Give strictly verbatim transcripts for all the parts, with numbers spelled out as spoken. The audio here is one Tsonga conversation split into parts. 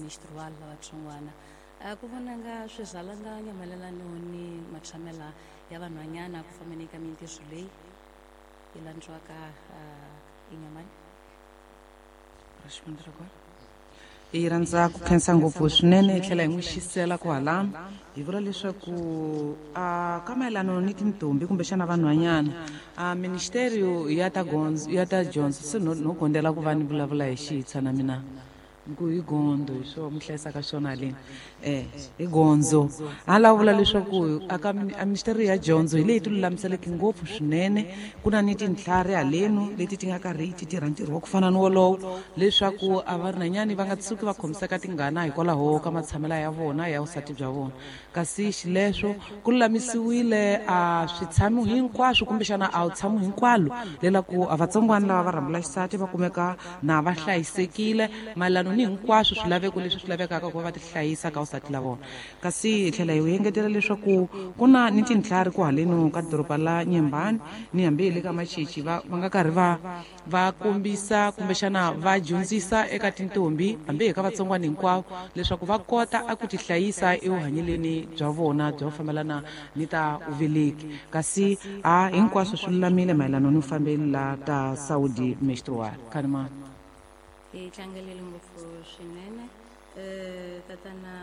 menstrual la vatsongwana. A ku vonanga swizalanganya mayelana ni matshamela ya vanhwanyana ku fambeni ka mintirho leyi yi landziwaka enyamani. Hi rhandza ku khensa ngopfu swinene hi tlhela hi n'wi xisela kwalano hi vula leswaku a ka mayelano ni tintombi kumbexana vanhwanyana a ministerio ya ta gondzo ya ta dyondzo se no no gondela ku va ni vulavula hi xitshwa na mina ku hi gondo hi swo mi hlayisaka swona haleni eh hi gondzo a lava vula leswaku aka a ministeri ya dyondzo hi leyi ti lulamiseleke ngopfu swinene ku na ni tintlhari halenu leti ti nga karhi ti tirha ntirho wa ku fana ni wolowo leswaku a varinanyani va nga tshuki va khomiseka tingana hikwalaho ka matshamelo ya vona ya vusati bya vona kasi xileswo ku lulamisiwile a switshamo hinkwaswo kumbexana a wu tshamo hinkwalo lelaku a vatsongwana lava va rhambula xisati va kumeka na va hlayisekile mayelano ni hinkwaswo swilaveko leswi swi lavekaka ku va va ti hlayisa ka vusati la vona kasi hi tlhela hi engetela leswaku ku na ni tintlhari ku haleno ka doroba la Nyembani ni hambi hi le ka Machichi va va nga karhi va va kombisa kumbexana va dyondzisa eka tintombi hambi hi ka vatsongwana hinkwavo leswaku va kota a ku ti hlayisa evuhanyeleni bya vona bya ku fambelana ni ta uveleki kasi a hinkwaswo swi lulamile mayelana ni fambeli la ta Saudi menstrual khanima. Hi tlangelele ngopfu swinene um tatana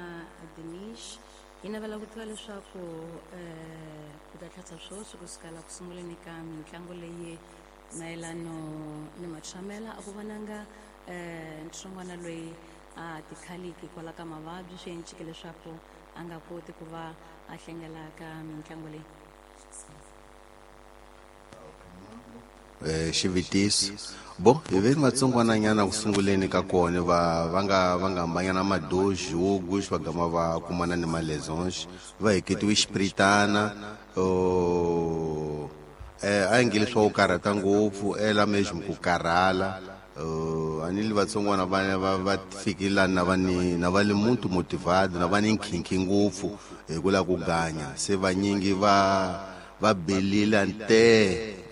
Denish hi navela ku tiva leswaku um ku ta tlhatsa swoswi ku sukela ku sunguleni ka mitlangu leyi mayelano ni matshamela a ku vonanga um ntsongwana loyi a tikhaliki hikwalaho ka mavabyi swi encike leswaku a nga koti ku va a hlengela ka mitlangu leyi. Eh xivitiso bo hi ve vatsongwananyana ku sunguleni ka kona va va nga va nga hambanyana madoji wo gush va gama va kumana ni malezonge va heketiwe xipritana o eh a ngi leswa ku karhata ngopfu ela mesmo ku karhala a ni li vatsongwana va va va fikile na va ni na va le muntu motivado na va ni nkhinkhi ngopfu hi ku la ku ganya se vanyingi va va belile ante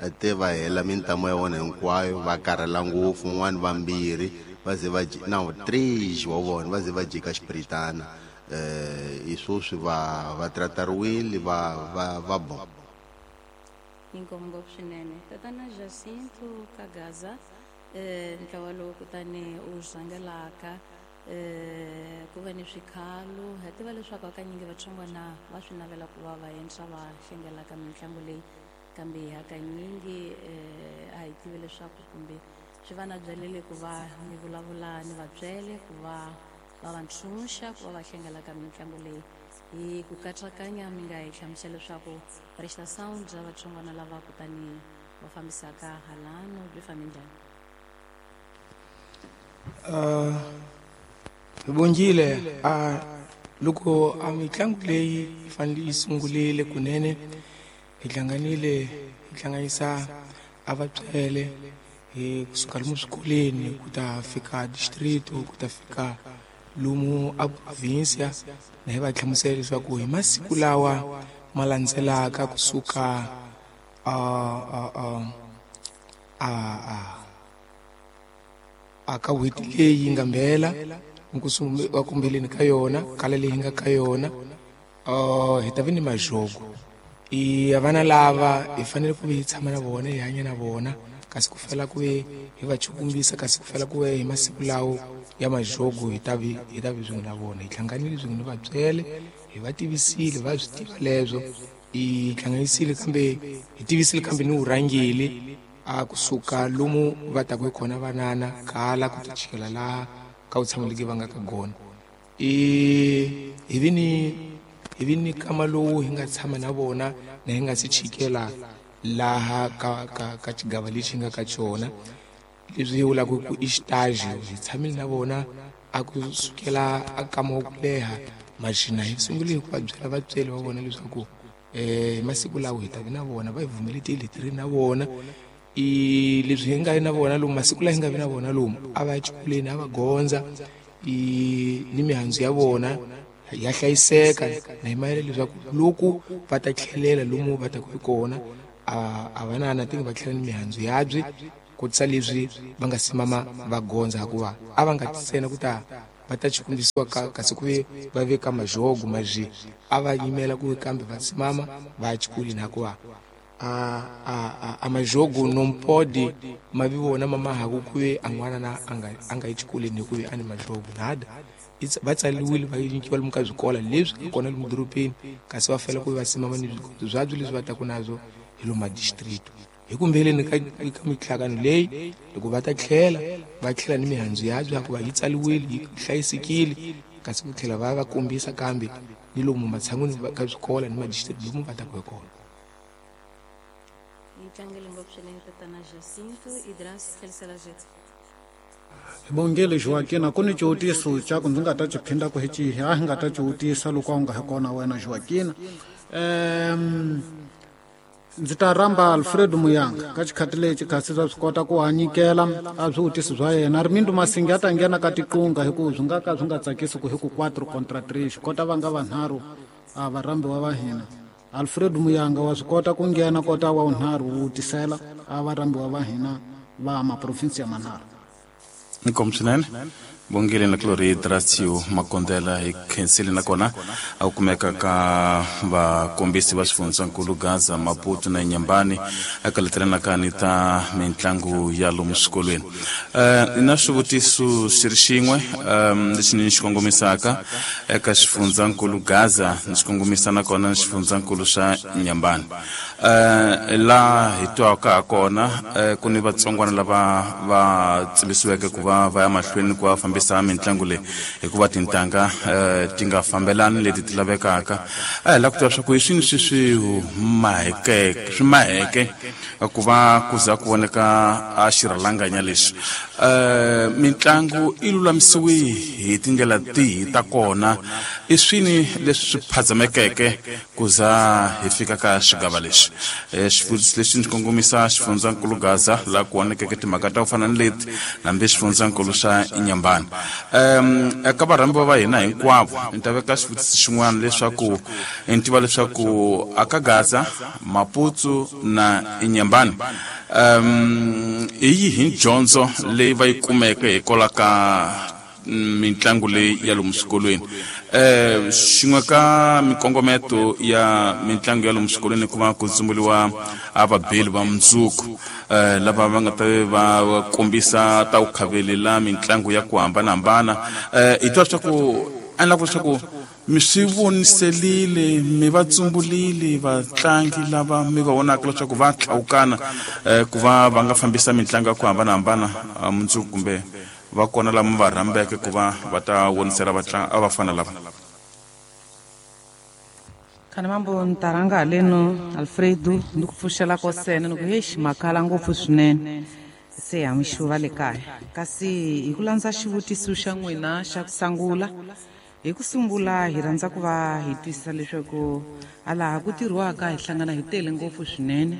ate va hela mintamo ya vona hinkwayo va karhala ngopfu un'wana vambirhi va ze va na three wa vona va ze va jika xipritana eh hi swoswi va va tratariwile va va va bo. Inkomu ngopfu swinene tatana Jacinto Kagaza eh ntlawa lowu kutani u rhangelaka eh ku va ni swikhalo hi tiva leswaku hakanyingi vatsongwana va swi navela ku va va endla va hlengelaka mitlangu leyi kambe hakanyingi eh a hi tivi leswaku kumbe swi va na byelele ku va ni vulavula ni vabyele ku va va va ntshunxa ku va va hlengelaka mitlangu leyi hi ku katsakanya mi nga hi hlamusela leswaku prestação bya vatsongwana lava kutani va fambisaka halano byi fambe njhani? Uh, Bongile a loko a mitlangu leyi yi fanele yi sungurile kunene hi hlanganile hi hlanganisa a vatswele hi kusuka lomu swikolweni ku ta fika district ku ta fika lomu a provincia na hi va hlamusela leswaku hi masiku lawa ma landzelaka kusuka a a a a a ka n'hweti leyi nga mbela wa kumbeleni ka yona kala leyi nga ka yona uh hi ta vi ni majogo i vana lava hi fanele ku vi hi tshama na vona hi hanya na vona kasi ku fela ku ve hi va chukumbisa kasi ku fela ku ve hi masiku lawo ya majogo hi ta vi hi ta vi swin'we na vona hi hlanganile swin'we ni vabyele hi va tivisile va swi tiva leswo hi hlanganisile kambe hi tivisile kambe ni vurhangeli a kusuka lomu va taku hi kona vanana kala ku ta chikela laha ka vutshameleki va nga ka gona i hi vi ni hi vi ni kama lowu hi nga tshama na vona na hi nga si chikela laha ka ka ka xigava lexi nga ka xona leswi hi vulaka ku i xitaji hi tshamile na vona a ku sukela a kama wa ku leha maxina hi sungule hi ku va byela vatsweri va vona leswaku eh masiku lawa hi ta vi na vona va hi vumeletile hi ri na vona i leswi hi nga vi na vona lomu masiku lawa hi nga vi na vona lomu a va ya xikolweni a va gondza i ni mihandzu ya vona ya hlayiseka na hi mayela leswaku loko va ta tlhelela lomu va taku hi kona a a va na na tingi va tlhela ni mihandzu yabye kotisa leswi va nga simama va gondza hikuva a va nga ntsena ku ta va ta xikombisiwa ka kasi ku ve va veka majogo maji a va yimela ku kambe va simama va xikolweni hikuva a a a, a majogo não pode ma vi vona mama haku ku ve a n'wana na a nga a nga yi xikolweni hikuva a ni majogo nada va tsaliwile va nyikiwa lomu ka swikola leswi nga kona lomu dorobeni kasi va fanele ku va simama ni swikombiso byabyo leswi va taku nazwo hi lomu madistrict hi kumbeleni ka ka mihlangano leyi loko va ta tlhela va tlhela ni mihandzu yabyo hikuva yi tsaliwile yi hlayisekile kasi ku tlhela va va kombisa kambe ni lomu matshan'wini ka swikola ni madistrict lomu va taku hi kona. Yi tlangele ngopfu swinene tatana Jacinto Idras tlherisela Jet. Bongele Joaquina ku ni xivutiso xa ku ndzi nga ta xi phinda ku hi xihi a hi nga ta xivutisa loko a wu nga hi kona wena Joaquina. Um ndzi ta rhamba Alfredo Muyanga ka xikhati lexi kasi swa swi kota ku a nyikela a swivutiso swa yena. Rimindo Masingi a ta nghena ka tiqunga hi ku swi nga ka swi nga tsakisi ku hi ku quatro contra três kota va nga vanharhu a varhambiwa va hina. Alfredo Muyanga wa swi kota ku nghena kota wa vunharhu wu vutisela a varhambiwa va hina va maprovinsi ya manharhu. Inkomu swinene Bongile na Glory Drasio Makondela hi khensile nakona a kumeka ka vakombisi va xifundzankulu Gaza, Maputo na Inhambane eka letelanaka ni ta mitlangu ya lomu swikolweni. Eh na swivutiso xi ri xin'we lexi ni xi kongomisaka eka xifundzankulu Gaza ni xi kongomisa nakona ni xifundzankulu xa Inhambane. Eh la hi twaka ha kona ku ni vatsongwana lava va tsimbisiweke ku va va ya mahlweni ku va fambisa mitlangu leyi hikuva tintanga ti nga fambelani leti ti lavekaka. A hi lava ku tiva swa ku hi swini swi swi mahekeke swi maheke ku va ku za ku voneka a xirhalanganya lexi. Um mitlangu i lulamisiwe hi tindlela tihi ta kona, i swini leswi swi phazamekeke ku za hi fika ka xigava lexi. Xivutiso lexi ndzi kongomisa xifundzankulu Gaza laha ku vonekeke timhaka ta ku fana ni leti hambi xifundzankulu xa Inhambane. Um eka varhambiwa va hina hinkwavo ni ta veka xivutiso xin'wana leswaku ni tiva leswaku aka Gaza, Maputo na Inhambane um hi yihi dyondzo leyi va yi kumeke hikwalaho ka mitlangu leyi ya lomu swikolweni. Eh xin'we ka mikongometo ya mitlangu ya lomu swikolweni ku va ku tsumburiwa a vabeli va mundzuku eh lava va nga ta va kombisa ta ku khavelela mitlangu ya ku hambanahambana. Eh hi twa leswaku a lava leswaku mi swi voniselile mi va tsumbulile vatlangi lava mi va vonaka leswaku va tlhawukana ku va va nga fambisa mitlangu ya ku hambanahambana mundzuku kumbe va kona lama va rhambeke ku va va ta vonisela vatlangi a va fana lava. Khani mambo ni ta rhanga haleno Alfredo ni ku pfuxela ko sene ni ku hexi makhala ngopfu swinene se ha mixuva le kaya. Kasi hi ku landza xivutiso xa n'wina xa ku sungula, hi ku sungula hi rhandza ku va hi twisisa leswaku a laha ku tirhiwaka hi hlangana hi tele ngopfu swinene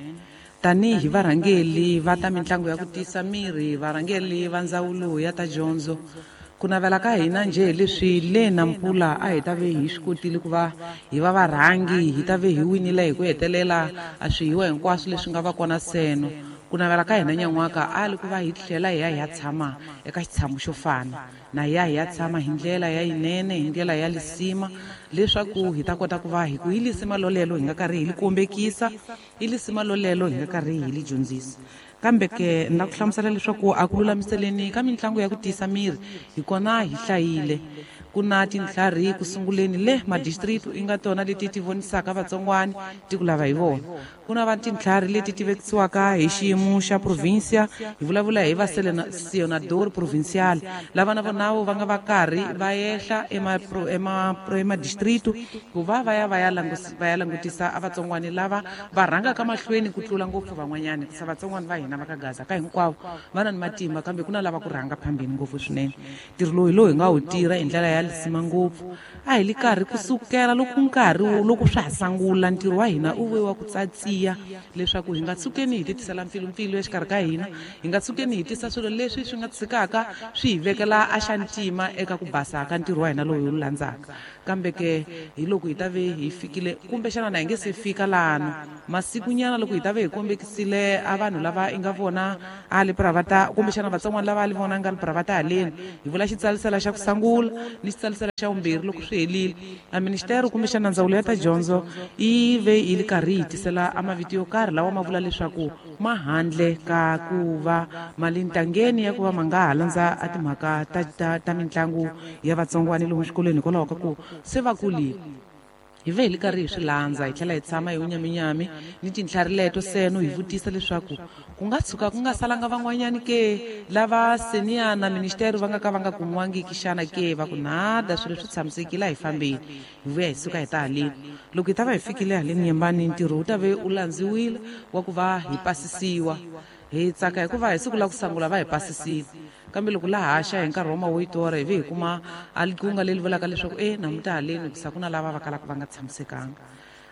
tanihi varhangeli va ta mitlangu ya ku tiyisa miri, varhangeli va ndzawulo ya ta dyondzo. Ku navela ka hina njhe leswi le Nampula a hi ta ve hi swi kotile ku va hi va varhangi, hi ta ve hi winile hi ku hetelela a swihiwa hinkwaswo leswi nga va kona seno. Ku navela ka hina nyan'waka a li ku va hi tlhela hi ya hi ya tshama eka xitshamo xo fana na hi ya hi ya tshama hi ndlela ya yinene, hi ndlela ya lisima, leswaku hi ta kota ku va hi ku hi lisima lolelo hi nga karhi hi li kombekisa, hi lisima lolelo hi nga karhi hi li dyondzisa. Kambe ke ni la ku hlamusela leswaku a ku lulamiseleni ka mitlangu ya ku tiyisa miri hi kona hi hlayile. Ku na tintlhari ku sunguleni le madistrict i nga tona leti ti vonisaka vatsongwani ti ku lava hi vona. Ku na va tintlhari leti ti vekisiwaka hi xiyimo xa provincia, hi vulavula hi va senador provincial lava na vona va nga va karhi va ehla emadistrict ku va va ya va ya va ya langutisa a vatsongwani lava va rhangaka mahlweni ku tlula ngopfu van'wanyani. Sa vatsongwani va hina va ka Gaza ka hinkwavo va na ni matimba, kambe ku na lava ku rhanga phambeni ngopfu swinene. Ntirho lowu hi lowu hi nga wu tirha hi ndlela ya ya lisima ngopfu a hi li karhi kusukela loko nkarhi loko swa ha sangula ntirho wa hina u ve wa ku tsatsiya leswaku hi nga tshukeni hi titisela mpfilumpfilu exikarhi ka hina hi nga tshukeni hi tisa swilo leswi swi nga tshikaka swi hi vekela a xa ntima eka ku basa ka ntirho wa hina lowu hi wu landzaka kambe ke hi loko hi ta ve hi fikile kumbexana na hi nge se fika lana masikunyana loko hi ta ve hi kombekisile a vanhu lava i nga vona a le pravata kumbexana vatsongwana lava a li vona nga le pravata haleni hi vula xitsalisela xa ku sangula ni xitsalisela xa vumbirhi loko swi helile a ministero kumbexana ndzawulo ya ta dyondzo yi ve yi li karhi yi tisela a mavito yo karhi lawa ma vula leswaku ma handle ka ku va mali ntangeni ya ku va ma nga ha landza a timhaka ta, ta, ta mitlangu ya vatsongwana lomu xikolweni hikwalaho ka ku se va kulile hi ve hi li karhi hi swi landza hi tlhela hi tshama hi wunyaminyami ni tintlhari leto seno hi vutisa leswaku ku nga tshuka ku nga salanga van'wanyani ke lava seniya na ministeri va nga ka va nga kumiwangiki xana ke va ku nada swilo swi tshamisekile a hi fambeni hi vuya hi suka hi ta haleni loko hi ta va hi fikile haleni Nyembani ntirho wu ta ve u landziwile wa ku va hi pasisiwa hi tsaka hikuva hi siku la ku sangula va hi pasisile kambe loko la haxa hi nkarhi wa mawoyitora hi ve hi kuma a likunga leri vulaka leswaku e namuntlha haleni hikusa ku na lava va kalaka va nga tshamisekanga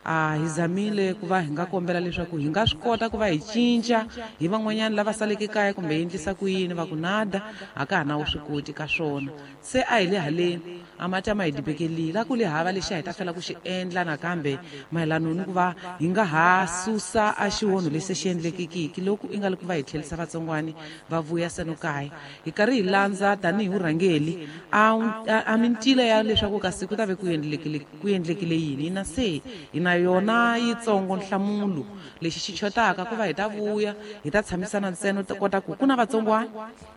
a hi zamile ku va hi nga kombela leswaku hi nga swi kota ku va hi cinca hi van'wanyana lava saleke kaya kumbe hi endlisa ku yini va ku nada a ka ha na wu swi koti ka swona se a hi le haleni a mati a ma hi dibekelile a ku le hava lexi a hi ta fela ku xi endla nakambe mayelano ni ku va hi nga ha susa a xiwonho lexi se xi endlekekiki loko i nga li ku va hi tlherisa vatsongwani va vuya seno kaya hi karhi hi landza tanihi vurhangeli a, a, a mintila ya leswaku kasi ku ta ve ku endlekile ku endlekile yini hina se hi na yona yitsongo nhlamulo lexi xi chotaka ku va hi ta vuya hi ta tshamisana ntsena ta kota ku ku na vatsongwana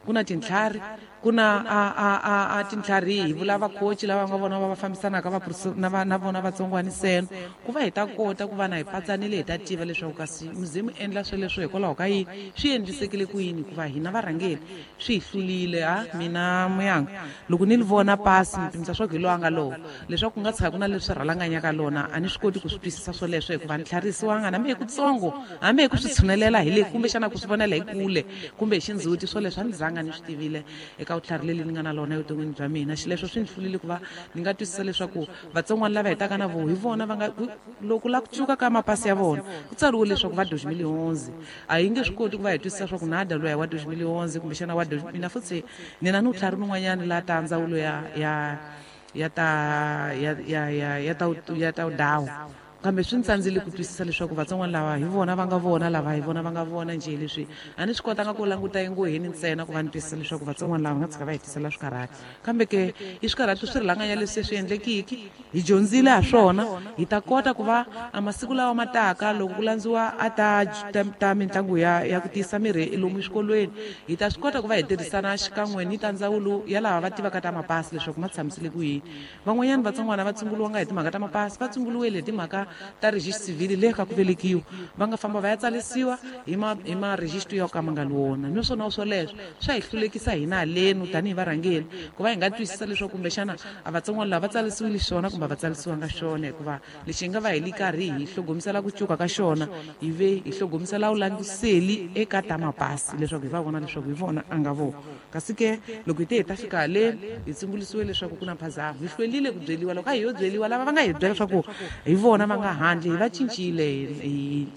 ku na tintlhari ku na a a a a tintlhari hi vula vakhochi lava nga vona va va fambisanaka va na va na vona vatsongwana seno ku va hi ta kota ku va na hi patsanile hi ta tiva leswaku kasi muzimu endla sweleswo hikwalaho ka yini swi endlisekile ku yini hikuva hina varhangeli swi hi hlulile a mina muyanga loko ni li vona pasi ni pimisa swa ku hi lowa nga lowo leswaku ku nga tshika ku na leswi rhalanganyaka lona a ni swi koti ku swi twisisa swoleswo hikuva ni tlharisiwanga hambi hi kutsongo hambi hi ku swi tshunelela hi le kumbexana ku swi vonela hi kule kumbe hi xindzhuti swoleswo a ni zanga ni swi tivile eka vutlhari leli ni nga na lona evuton'wini bya mina xileswo swi ni hlulile ku va ni nga twisisa leswaku vatsongwana lava hetaka na vo hi vona va nga loko la ku cuka ka mapasi ya vona ku tsariwe leswaku va dois mil onze a hi nge swi koti ku va hi twisisa swa ku nada loyi wa dois mil onze kumbexana wa mina futhi ni na ni vutlhari nin'wanyana la ta ndzawulo ya ya ya ta ya ya ya ya ta ya ta dawu kambe swi ni tsandzile ku twisisa leswaku vatsongwana lava hi vona va nga vona lava hi vona va nga vona njhe leswi a ni swi kotanga ku languta engoheni ntsena ku va ni twisisa leswaku vatsongwana lava nga tshika va hi tisela swikarhati kambe ke i swikarhati swi rilanganya leswi se swi endlekiki hi dyondzile ha swona hi ta kota ku va a masiku lawa ma taka loko ku landziwa a ta ta, ta mitlangu ya ya ku tiyisa mirhi lomu exikolweni hi ta swi kota ku va hi tirhisana xikan'we ni ta ndzawulo ya lava va tivaka ta mapasi leswaku ma tshamisile ku yini van'wanyana vatsongwana va tshunguriwanga hi timhaka ta mapasi va tshunguriwile hi timhaka ta register civil le ka ku velekiwa va nga famba va ya tsalisiwa hi ma hi ma register yo ka ma nga li wona naswona swoleswo swa hi hlulekisa hina halenu tanihi varhangeli ku va hi nga twisisa leswaku kumbexana a vatsongwana lava va tsalisiwile xona kumbe va tsalisiwanga xona hikuva lexi hi nga va hi li karhi hi hlogomisela ku cuka ka xona hi ve hi hlogomisela vulandziseli eka ta mapasi leswaku hi va vona leswaku hi vona a nga vona kasi ke loko hi te hi ta fika haleni hi tsumbulisiwe leswaku ku na mphazamo hi hlwelile ku byeliwa loko a hi yo byeliwa lava va nga hi byela leswaku hi vona va nga handle hi va cincile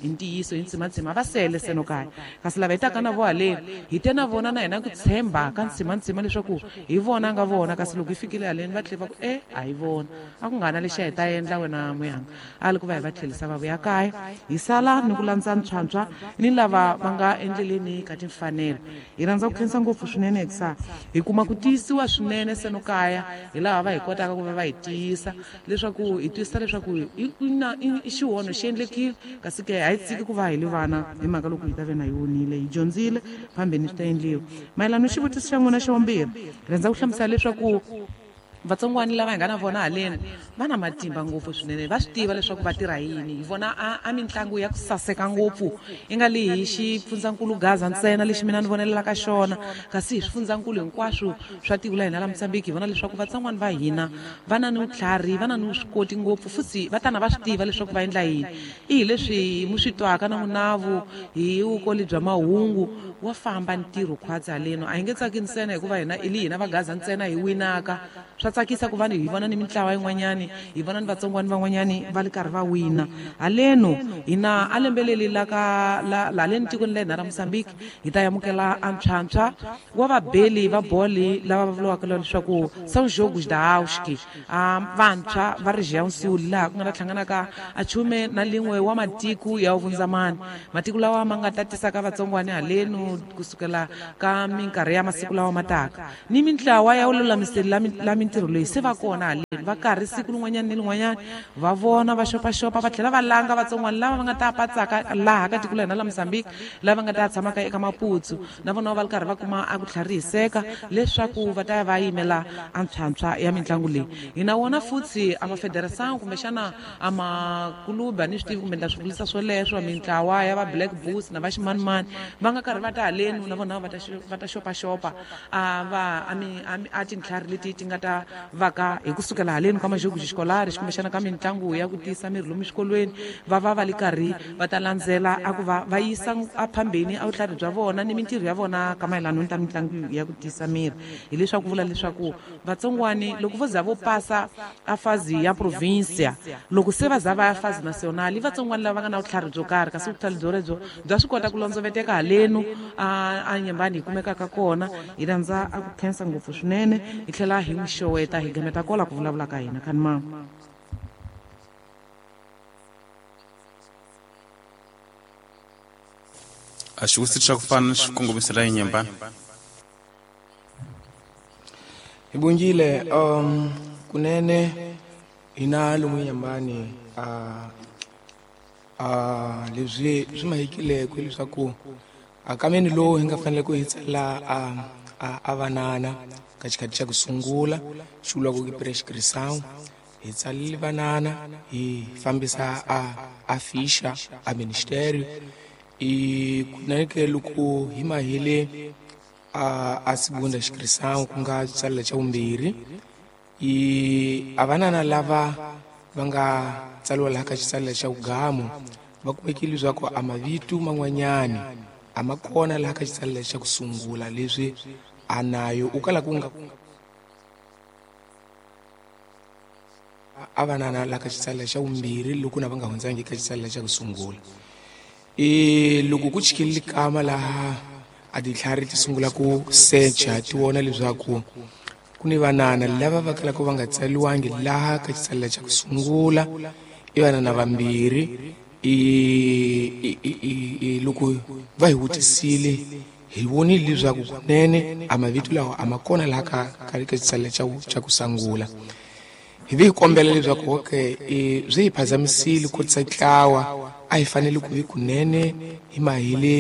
hi ntiyiso hi ntsimantsima va sele seno kaya kasi lava hi taka na vo haleni hi te na vona na hina ku tshemba ka ntsimantsima leswaku hi vona nga vona kasi loko hi fikile haleni va tlhela va ku e a hi vona a ku nga na lexi a hi ta endla wena muyanga a li ku va hi va tlherisa va vuya kaya hi sala ni ku landza ntshwantshwa ni lava va nga endleleni ka timfanelo hi rhandza ku khensa ngopfu swinene hikusa hi kuma ku tiyisiwa swinene seno kaya hi laha va hi kotaka ku va va hi tiyisa leswaku hi twisisa leswaku i xihono xi endlekile kasi ke a hi tshiki ku va hi li vana hi mhaka loko hi ta ve na yi vonile hi dyondzile phambeni swi ta endliwa mayelana xivutiso xa n'wina xa vumbirhi rhandza ku hlamusela leswaku vatsongwana lava hi nga na vona haleni va na matimba ngopfu swinene va swi tiva leswaku va tirha yini hi vona a, a mitlangu ya ku saseka ngopfu i nga li hi xifundzankulu Gaza ntsena lexi mina ni vonelelaka xona kasi hi swifundzankulu hinkwaswo swa tiko la hina la Mozambique hi vona leswaku vatsongwana va hina va na ni vutlhari va na ni vuswikoti ngopfu futhi va tana va swi tiva leswaku va endla yini i hi leswi mu swi twaka na munavu hi vukoli bya mahungu wa famba ntirho khwatsi haleni a hi nge tsaki ntsena hikuva hina i li hina va Gaza ntsena hi winaka swa tsakisa ku va ni hi vona ni mintlawa yin'wanyani hi vona ni vatsongwani van'wanyani va li karhi va wina haleno hina a lembeleli la ka la la leni tikweni la hina ra Mozambique hi ta amukela antshwantshwa wa vabeli va boli lava va vuriwaka leswaku São Jogos da Auski a vantshwa va Região Sul laha ku nga ta hlanganaka a chume na lin'we wa matiko ya vundzamani matiko lawa ma nga tatisaka vatsongwani halenu kusukela ka minkarhi ya masiku lawa mataka ni mintlawa ya lulamiseli la la mintirho leyi se va kona halenu va karhi siku rin'wanyana ni rin'wanyana va vona va xopaxopa va tlhela va langa vatsongwani lava va nga ta patsaka laha ka tiko la hina la Mozambique lava nga ta tshamaka eka Maputo na vona va ri karhi va kuma a ku tlharihiseka leswaku va ta va yimela antshwantshwa ya mitlangu leyi hina wona futhi a mafederação kumbexana a makuluba ni swi tivi kumbe ndla swi vulisa swoleswo mintlawa ya va Black Bulls na va ximanimani va nga karhi va ta halenu na vona va ta va ta xopaxopa a va a mi a tintlhari leti ti nga ta vaka hi kusukela halenu ka majogo xikolari kumbexana ka mitlangu ya ku tiyisa miri lomu xikolweni va va va li karhi va ta landzela a ku va va yisa aphambeni a vutlhari bya vona ni mintirho ya vona ka mayelana ni ta mitlangu ya ku tiyisa miri hileswaku vula leswaku vatsongwani loko vo za vo pasa a fazi ya provincia loko se va za va ya fazi national vatsongwani lava nga na vutlhari byo karhi kasi vutlhari byo lebyo bya swi kota ku londzoveteka halenu a a nyembani hi kumekaka kona hi rhandza a ku khensa ngopfu swinene hi tlhela hi n'wi xoweta hi gameta kola ku vulavula ka hina khani mama. A xivutiso xa ku fana xi kongomisela enyembani hi bongile um kunene hina lomu nyambani a a leswi swi mahekileko leswaku akameni lowu hi nga fanele ku hi tsala a a vanana ka xikhathi xa ku sungula xi vuriwaka ku prescription hi tsalile vanana hi fambisa a a ficha a ministério i kunene ke loko hi mahele a a segunda inscrição ku nga tsalela xa vumbirhi i a vanana lava va nga tsaliwa laha ka xitsalela xa vugamu va kumekile leswaku a mavito man'wanyani a ma kona laha ka xitsalela xa ku sungula leswi a nayo u kala ku nga a vanana laha ka xitsalela xa vumbirhi loko na va nga hundzangi ka xitsalela xa ku sungula e loko ku chikile kama laha a ditlhari ti sungula ku secha ti vona leswaku ku ni vanana lava va kalaka va nga tsaliwangi laha ka xitsalela xa ku sungula i vanana vambirhi i i loko va hi vutisile hi vonile leswaku kunene a mavito lawa a ma kona laha ka ka ka xitsalela xa xa ku sungula hi vi hi kombela leswaku okay swi hi phazamisile ku tisa ntlawa a hi fanele ku vi kunene hi mahele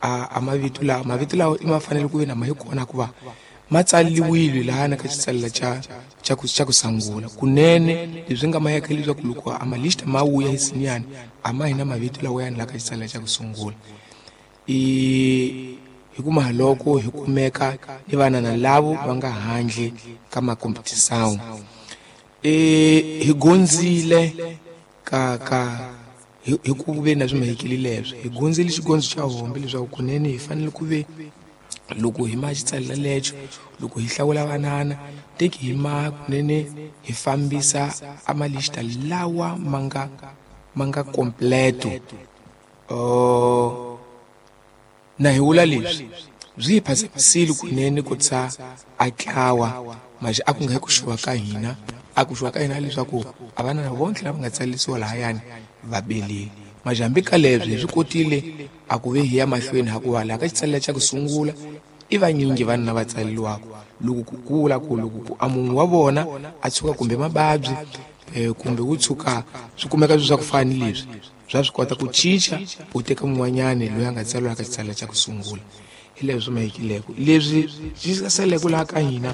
a a mavito lawa mavito lawa i ma fanele ku vi na ma hi kona ku va ma tsaliwile laha na ka xitsalela xa xa ku xa ku sungula kunene leswi nga mayeka leswaku loko a malista ma vuya hi sinyani a ma hi na mavito lawa yani laha ka xitsalela xa ku sungula i hi kuma loko hi kumeka ni vanana lavo va nga handle ka makompetisawu e hi gonzile ka ka hi ku ve na swi mahekile leswo hi gonzile xigondzo xa hombe leswaku kunene hi fanele ku ve loko hi ma xitsalela lexo loko hi hlawula vanana teki hi ma kunene hi fambisa a malista lawa ma nga ma nga completo uh, na hi vula leswi byi hi phazamisile kunene ku tsa a tlawa maje a ku nga hi ku xuwa ka hina a ku xuwa ka hina leswaku a vanana vontlhe lava nga tsalisiwa lahayani va belile maje hambi ka leswi hi swi kotile a ku ve hi ya mahlweni hakuva laha ka xitsalela xa ku sungula i vanyingi vanhu lava tsaleliwaka loko ku kula ku loko ku a munhu wa vona a tshuka kumbe mababyi eh, kumbe ku tshuka swi kumeka swi swa ku fana ni leswi bya swi kota ku cinca u teka mun'wanyani loyi a nga tsariwa ka xitsalela xa ku sungula hi leswi swi mahekileko leswi swi saleke laha ka hina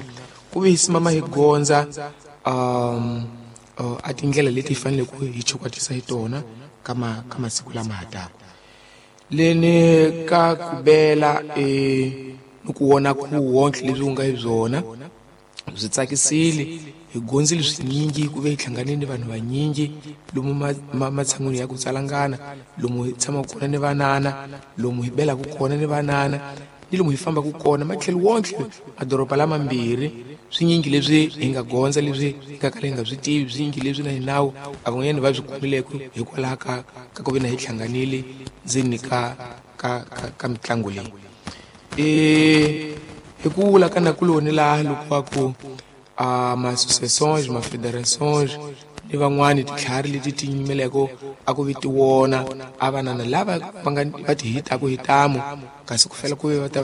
ku ve hi simama hi gondza um uh, a tindlela leti hi fanele ku hi chukwatisa hi tona ka ma ka masiku lama ha taka leni ka ku bela e ni ku vona ku wonke leswi u nga hi byona byi tsakisile hi gondzile swinyingi ku ve hi hlanganile ni vanhu vanyingi lomu matshan'wini ya ku tsalangana lomu hi tshamaka kona ni vanana lomu hi belaka kona ni vanana ni lomu hi fambaka kona matlhelo wonke madoroba lamambirhi swinyingi leswi hi nga gondza leswi hi nga kala hi nga swi tivi swinyingi leswi na hinawu a van'wanyana va swi kumileke hikwalaho ka ka ku ve na hi hlanganile ndzeni ka ka ka, ka mitlangu leyi e hi ku vula ka nakuloni laha loko va ku a ma-associations ma-federations ni van'wani titlhari leti ti yimeleko a ku vi ti wona a vanana lava va nga va ti hitaku hi tamu kasi ku fela ku ve va ta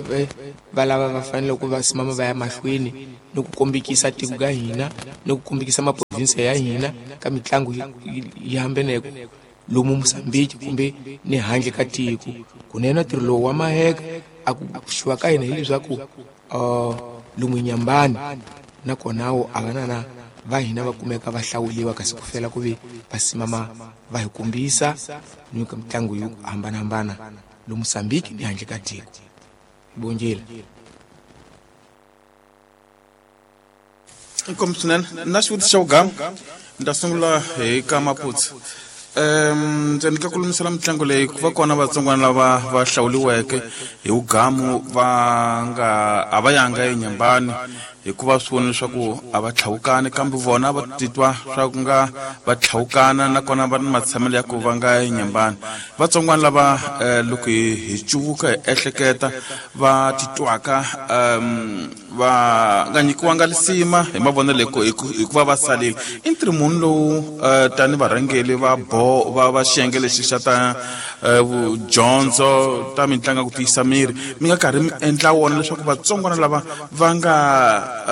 va lava va fanele ku va simama va ya mahlweni ni ku kombekisa tiko ka hina ni ku kombekisa maprovinsi ya hina ka mitlangu yi hambeneko lomu Mozambique kumbe ni handle ka tiko kunene ntirho lowu wa maheka a ku xuwa ka hina hileswaku uh, lomu Nyambani nakona wo a vanana va hina va kumeka va hlawuliwa kasi ku fela ku ve va simama va hi kombisa ni ka mitlangu yo hambanahambana lomu Mozambique ni handle ka tiko bongile. Inkomu swinene na xivutiso xa vugama ni ta sungula hi ka Maputsu. Um ndzi ka kulumisela mitlangu leyi ku va kona vatsongwana lava va hlawuliweke hi vugamu va nga a va yanga eNyambani hikuva swi vona leswaku a va tlhawukani kambe vona va titwa swa ku nga va tlhawukana nakona va ni matshamelo ya ku va nga eNyambani. Vatsongwana lava loko hi cuvuka hi ehleketa va titwaka um va nga nyikiwanga lisima hi mavonelo hikuva va salile i ntirho muni lowu tani varhangeli va bo va va xiyenge lexi xa ta dyondzo ta mitlangu ku tiyisa miri mi nga karhi mi endla wona leswaku vatsongwana lava va nga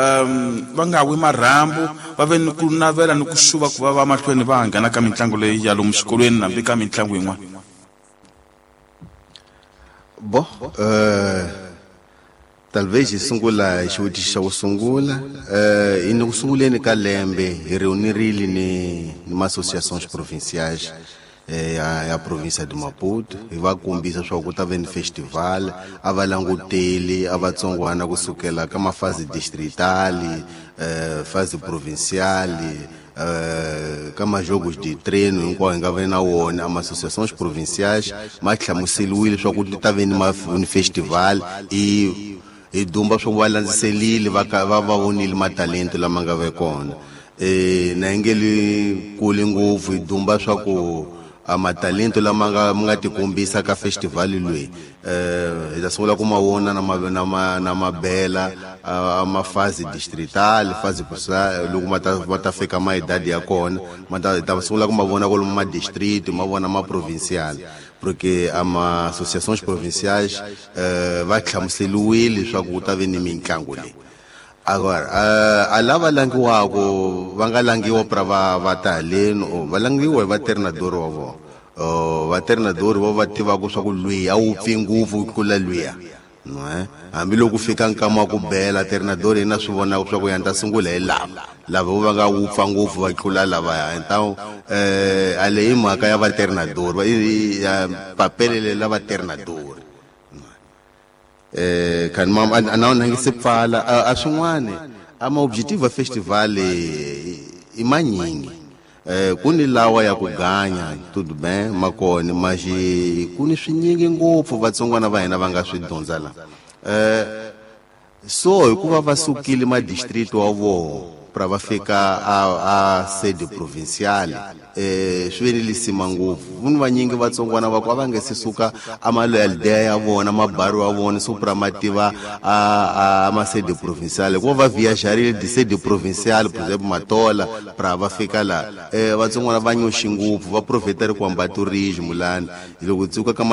um va nga wi marhambu va ve ni ku navela ni ku xuva ku va va mahlweni va nghena ka mitlangu leyi ya lomu xikolweni hambi ka mitlangu yin'wana. Bo eh talvez hi sungula hi xivutiso xa ku sungula eh hi ni ku sunguleni ka lembe hi reunirile ni ni ma-associations provinciais ya ya province de Maputo hi va kombisa swa ku ta ve ni festival a va languteli a vatsongwana kusukela ka mafasi distritali eh fasi provinciali eh ka majogos de treino hinkwawo hi nga ve na wona ama associations provinciais ma hlamuseliwile swa ku ta ve ni ni festival i hi dumba swa ku va landziselile va va va vonile matalento lama nga ve kona eh na ngeli kule ngopfu hi dumba swa ku a matalento lama nga nga tikombisa ka festival leyi eh hi ta sungula ku ma vona na ma na ma na mabela a mafasi distrital fasi provincial loko ma ta ma ta fika ma idadi ya kona ma ta ta sungula ku ma vona kwalomu ma district ma vona ma provincial porque ama associations provinciais eh va hlamuseliwile swa ku ta ve ni mitlangu leyi. Agora a lava langiwako va nga langiwa pra va va ta haleni o va langiwa hi vatreinador wa vona o vatreinador vo va tivaka swa ku lwiya a wu pfi ngopfu ku tlula lwiya no eh hambiloko fika nkama wa ku bela treinador yena swi vonaka swa ku ya ni ta sungula hi lava lava vo va nga wupfa ngopfu va tlula lavaya então eh a leyi mhaka ya vatreinador ya papelele la vatreinador eh kan mam ana na ngi se pfala a swin'wana ama objective festival i manyingi eh ku ni lawa ya ku ganya tudo bem makona maji ku ni swinyingi ngopfu vatsongwana va hina va nga swi dyondza la eh so hikuva va sukile ma district wa vona pra va fika a a sede provincial eh swi ve ni lisima ngopfu vunhu vanyingi vatsongwana va ku a va nge se suka amaloyalidea ya vona mabaru wa vona so pra mativa a a ma sede provincial hikuva va viajarile di sede provincial por exemplo Matola pra va fika la eh vatsongwana va nyoxi ngopfu va profetari ku hamba tourism lani loko tsuka ka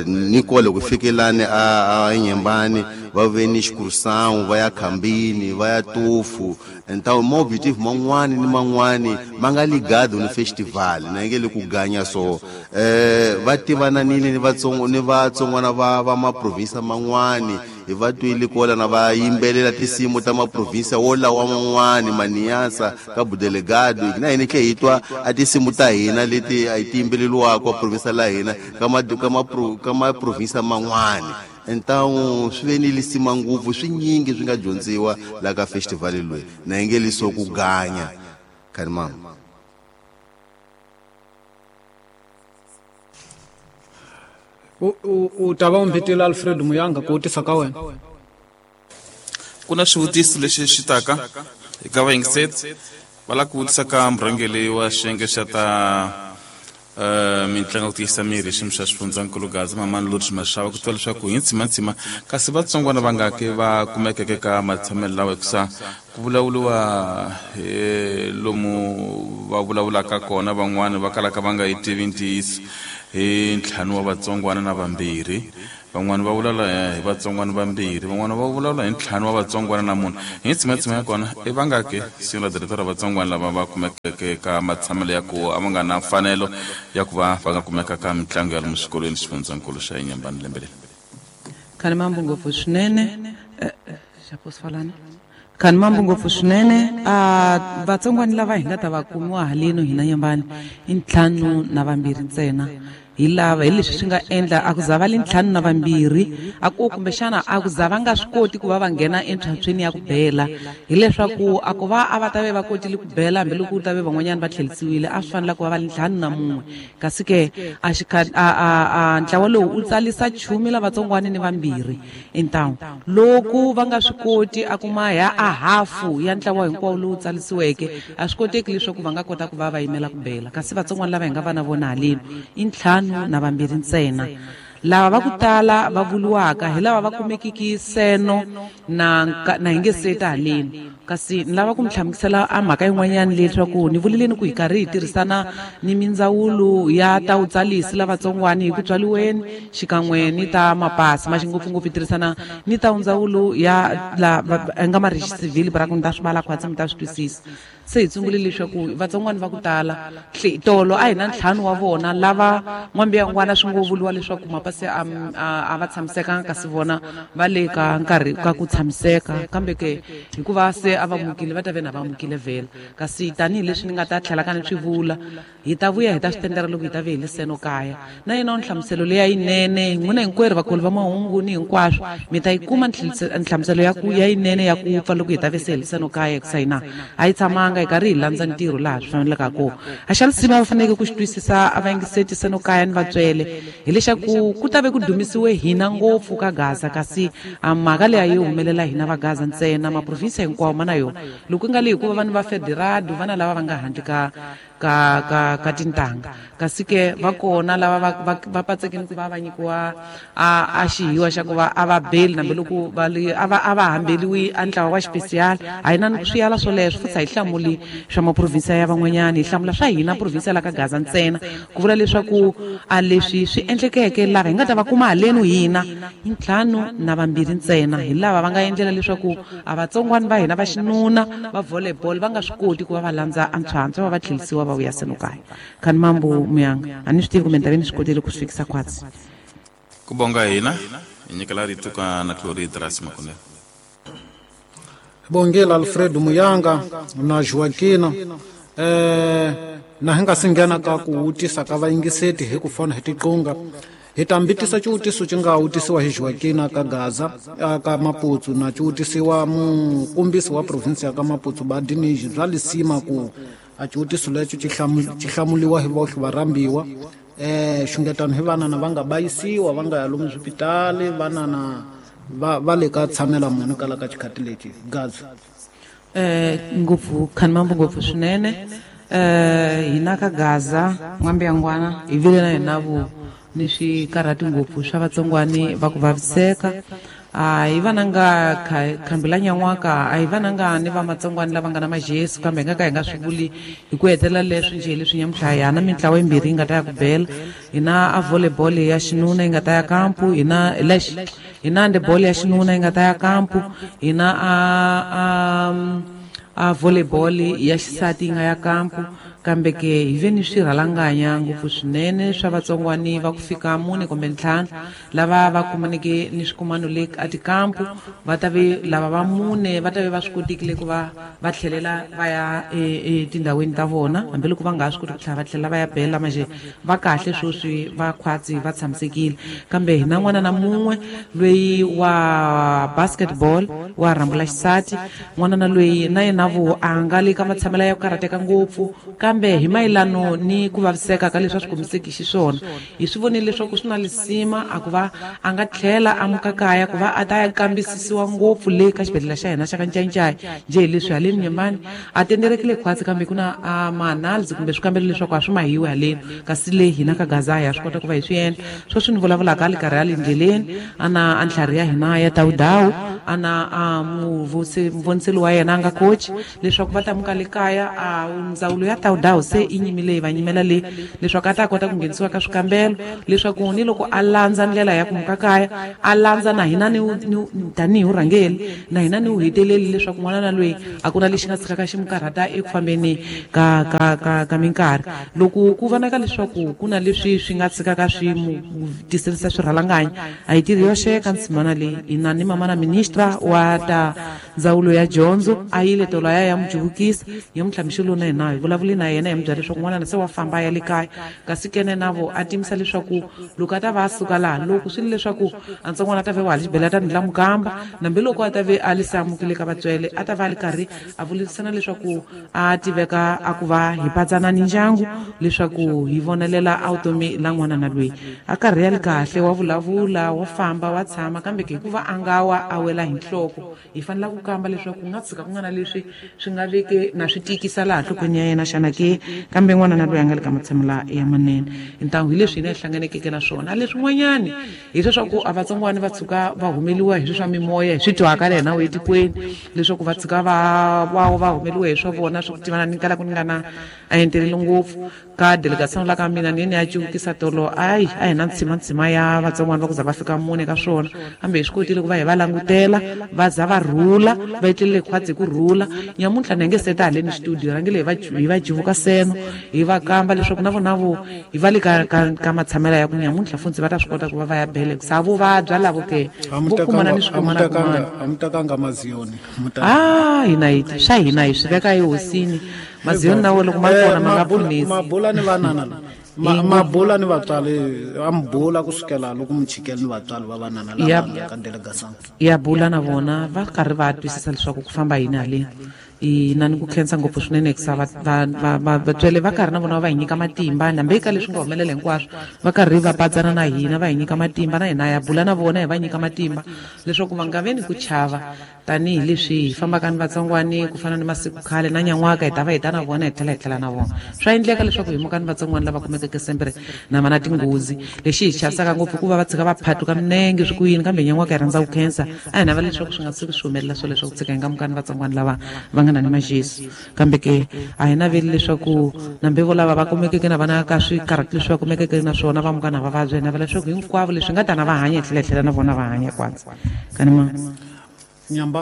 ni kole ku fikelani a a Nyembani va ve ni excursão va ya Khambini va ya Tufu então ma objective man'wani ni man'wani ma nga ligado ni festival na nge le ku ganya so eh va tivananile ni vatsongo ni vatsongwana va va ma province man'wani hi va twile kola na va yimbelela tinsimu ta maprovinsi wolawa man'wani Maniasa ka Budelegado na hina tlhe hi twa a tinsimu ta hina leti a ti yimbeleliwaka province la hina ka ma ka ma ka maprovinsi man'wani então swi ve ni lisima ngopfu swinyingi swi nga dyondziwa la ka festival leyi na nge liso ku ganya khani mama. U u ta va u mbitile Alfred Muyanga ku vutisa ka wena. Ku na xivutiso lexi xi taka eka vayingiseti va lava ku vutisa ka murhangeri wa xiyenge xa ta uh, mitlangu ku tiyisa miri xiyimo xa xifundzankulu Gaza Mamani Lodge Mashava ku tiva leswaku hi ntsimantsima kasi vatsongwana va nga ke va kumekeke ka matshamelo lawa hikusa ku vulavuriwa hi lomu va vulavulaka kona van'wani va kalaka va nga yi tivi ntiyiso hi ntlhanu wa vatsongwana na vambirhi van'wani va vulavula hi vatsongwana vambirhi van'wani va vulavula hi ntlhanu wa vatsongwana na munhu hi ntsimantsima ya kona i va nga ke siku director ra vatsongwana lava va kumekeke ka matshamelo ya ku a va nga na mfanelo ya ku va va nga kumeka ka mitlangu ya lomu swikolweni xifundzankulu xa Inhambane lembe leri. Khani mambo ngopfu swinene xaposifalana khani mambo ngopfu swinene a vatsongwana lava hi nga ta va kumiwa haleno hina Nyambani i ntlhanu na vambirhi ntsena hi lava hi leswi swi nga endla a ku za va le ntlhanu na vambirhi a ku kumbexana a ku za va nga swi koti ku va va nghena entlhantlhweni ya ku bela hileswaku a ku va a va ta ve va kotile ku bela hambiloko ku ta ve van'wanyana va tlherisiwile a swi fanele ku va va le ntlhanu na mun'we kasi ke a a a ntlawa lowu u tsalisa chumi lavatsongwana ni vambirhi intawu loko va nga swi koti a kuma ya a hafu ya ntlawa hinkwawo lowu tsalisiweke a swi koteki leswaku va nga kota ku va va yimela ku bela kasi vatsongwana lava hi nga va na vona haleni i ntlhanu na vambirhi ntsena lava va ku tala va vuriwaka hi lava va kumekiki seno na na hi nge seta haleni kasi ni lava ku mi hlamusela a mhaka yin'wanyana leswaku ni vuleleni ku hi karhi hi tirhisana ni mindzawulo ya ta vutsalisi lavatsongwana hi ku tswaliweni xikan'we ni ta mapasi ma xingopfungopfu hi tirhisana ni ta ndzawulo ya la nga marixisivhili bra ku ni ta swi vala khwatsi mi ta swi twisisa se hi tsungule leswaku vatsongwana va ku tala tolo a hi na ntlhanu wa vona lava n'wambiyangwana swi ngo vuriwa leswaku mapasi a a va tshamisekanga kasi vona va le ka nkarhi ka ku tshamiseka kambe ke hikuva se a va mukile va ta ve na va mukile vhela kasi tanihileswi ni nga ta tlhela ka ni swi vula hi ta vuya hi ta swi tendera loko hi ta ve hi le seno kaya na yena nhlamuselo leya yinene n'wina hinkwerhu vakulu va mahungu ni hinkwaswo mi ta yi kuma nhlamuselo ya ku ya yinene ya ku pfa loko hi ta ve se hi le seno kaya hikusa hina a yi tshamanga hi karhi hi landza ntirho laha swi faneleke kona a xa lisima va faneleke ku xi twisisa a va yingiseti seno kaya ni vatswele hileswaku ku ta ve ku dumisiwe hina ngopfu ka Gaza kasi a mhaka leyi a yi humelela hina va Gaza ntsena maprovinsi hinkwawo ma na yona loko ku nga le hikuva vanhu va federado vana lava va nga handle ka ka ka ka tintanga kasi ke va kona lava va va va patsekeni ku va va nyikiwa a a xihiwa xa ku va a va beli hambiloko va le a va a va hambeliwi a ntlawa wa xipesiyali a hi na ni swiyala swoleswo futhi a hi hlamuli swa maprovinsi ya van'wanyana hi hlamula swa hina provinsi la ka Gaza ntsena ku vula leswaku a leswi swi endlekeke lava hi nga ta va kuma haleni hina i ntlhanu na vambirhi ntsena hi lava va nga endlela leswaku a vatsongwana va hina va xinuna va volleyball va nga swi koti ku va va landza a ntswantswa va va tlherisiwa va vuya seno kaya khani mambo Muyanga a ni swi tivi kumbe ni ta ve ni swi kotile ku swi fikisa khwatsi ku bonga hina hi nyikela rito ka na Clori Drasi Makonela Bongela Alfred Muyanga na Joaquina eh na hi nga si nghena ka ku vutisa ka vayingiseti hi ku fona hi tiqunga hi ta mbitisa xivutiso xi nga vutisiwa hi Joaquina ka Gaza ka Maputsu na xi vutisiwa mukombisi wa provinsi ya ka Maputsu Badiniji bya lisima ku a xivutiso lexo xi hlamuliwa hi vohle varhambiwa eh xungetano hi vanana va nga bayisiwa va nga ya lomu swipitali vanana va va le ka tshamela munhu kala ka xikhati lexi Gaza eh ngopfu khani mambo ngopfu swinene eh hina ka Gaza n'wambiyangwana hi vile na hina vo ni swikarhati ngopfu swa vatsongwani va ku vaviseka a hi vananga khambela nyan'waka a hi vananga ni va matsongwani lava nga na majesu kambe hi nga ka hi nga swi vuli hi ku hetelela leswi njhe leswi nyamuntlha hi na mintlawa yimbirhi yi nga ta ya ku bela hi na a volleyball ya xinuna yi nga ta ya kampu hi na lexi hi na handball ya xinuna yi nga ta ya kampu hi na a a a volleyball ya xisati yi nga ya kampu kambe ke hi ve ni swirhalanganya ngopfu swinene swa vatsongwani va ku fika mune kumbe ntlhanu lava va kumaneke ni swikumano le a tikampu va ta ve lava va mune va ta ve va swi kotekile ku va va tlhelela va ya etindhawini ta vona hambiloko va nga ha swi koti ku tlhela va tlhela va ya bela manjhe va kahle sweswi va khwatsi va tshamisekile kambe hi na n'wana na mun'we loyi wa basketball wa rhambula xisati n'wana na loyi na yena vo a nga le ka matshamela ya ku karhateka ngopfu kambe hi mayelano ni ku vaviseka ka leswi a swi komiseki xiswona hi swi vonile leswaku swi na lisima a ku va a nga tlhela a muka kaya ku va a ta ya kambisisiwa ngopfu le ka xibedhlele xa hina xa ka Ncayincaya njhe hi leswi haleni Nyembani a tenderekile khwatsi kambe ku na a ma-analysis kumbe swikambelo leswaku a swi mahiwi haleni kasi le hina ka Gaza ya swi kota ku va hi swi endla sweswi ni vulavulaka a le karhi a le ndleleni a na a ntlhari ya hina ya tawudawu a na a muvoniseli wa yena a nga coach leswaku va ta muka le kaya a ndzawulo ya tawudawu se i nyimile yi va nyimela le leswaku a ta kota ku nghenisiwa ka swikambelo leswaku ni loko a landza ndlela ya ku muka kaya a landza na hina ni tanihi vurhangeri na hina ni wu heteleli leswaku n'wana na loyi a ku na lexi nga tshikaka xi mu karhata eku fambeni ka ka ka ka minkarhi loko ku vonaka leswaku ku na leswi swi nga tshikaka swi mu tiselisa swirhalanganya a hi tirhi yoxe ka ntshimana leyi hina ni mama na ministra wa ta ndzawulo ya dyondzo a yile tolo ya ya mu juvukisa hi mutlhamixelo na hina hi vulavuli na yena hi mu byela leswaku n'wana se wa famba a ya le kaya kasi kene na vo a timisa leswaku loko a ta va a suka laha loko swi le leswaku a ntsongwana a ta ve wa ha xibedhlele a ta ndlela mukamba nambi loko a ta ve a li se amukile ka vatswele a ta va a li karhi a vulavurisana leswaku a tiveka a ku va hi patsana ni ndyangu leswaku hi vonelela a vutomi la n'wana na loyi a karhi ya li kahle wa vulavula wa famba wa tshama kambe ke hikuva a nga wa a wela hi nhloko hi fanela ku kamba leswaku ku nga tshika ku nga na leswi swi nga veke na swi tikisa laha nhlokweni ya yena xana ke kambe n'wana na loyi a nga le ka matshamela ya manene ntangu hi leswi hina hi hlanganekeke na swona leswin'wanyani hi leswaku a vatsongwana va tshuka va humeliwa hi swi swa mimoya hi swi twaka le hina etikweni leswaku va tshuka va va va humeliwa hi swa vona swa ku tivana ni kala ku ni nga na a enteleli ngopfu ka delegation la ka mina ni ni ya cuvukisa tolo ayi a hi na ntshimantsima ya vatsongwana va ku za va fika mune ka swona kambe hi swi kotile ku va hi va langutela va za va rhula va etlelele khwatsi hi ku rhula nyamuntlha ni nge seta haleni studio rhangile hi va hi va jivuka seno hi va kamba leswaku na vona vo hi va le ka ka ka matshamela ya ku nyamuntlha funtsi va ta swi kota ku va va ya bele sa vo vabya lavo ke vo kumana ni swikumana kumana a mi tekanga maziyoni ah hina hi swa hina hi swi veka ehosini maziyoni na wo loko ma kona ma nga pfunisi mabula ni vanana mabula ni vatswari a mi bula kusukela loko mi chikele ni vatswari va vanana lava nga ka delegation ya bula na vona va karhi va twisisa leswaku ku famba yini haleni ina ni ku khensa ngopfu swinene hikusa vatswele va karhi na vona va hi nyika matimba nambe eka leswi nga humelela hinkwaswo va karhi va patsana na hina va hi nyika matimba na hina ya bula na vona hi va nyika matimba leswaku va nga ve ni ku chava tanihileswi hi fambaka ni vatsongwani ku fana ni masiku khale na nyan'waka hi ta va hi ta na vona hi tlhela hi tlhela na vona swa endleka leswaku hi muka ni vatsongwani lava kumekeke sembere na va na tinghozi lexi hi chavisaka ngopfu ku va va tshika va phatuka minenge swi ku yini kambe nyan'waka hi rhandza ku khensa a hi navela leswaku swi nga tshuki swi humelela swo leswaku tshika hi nga muka ni vatsongwani lava va nga na ni majesu kambe ke a hi naveli leswaku nambe vo lava va kumekeke na vana ka swikarhati leswi va kumekeke na swona va muka na va vabya hi navela leswaku hinkwavo leswi nga ta na va hanya hi tlhela hi tlhela na vona va hanya kwatsa kani ma Nyamba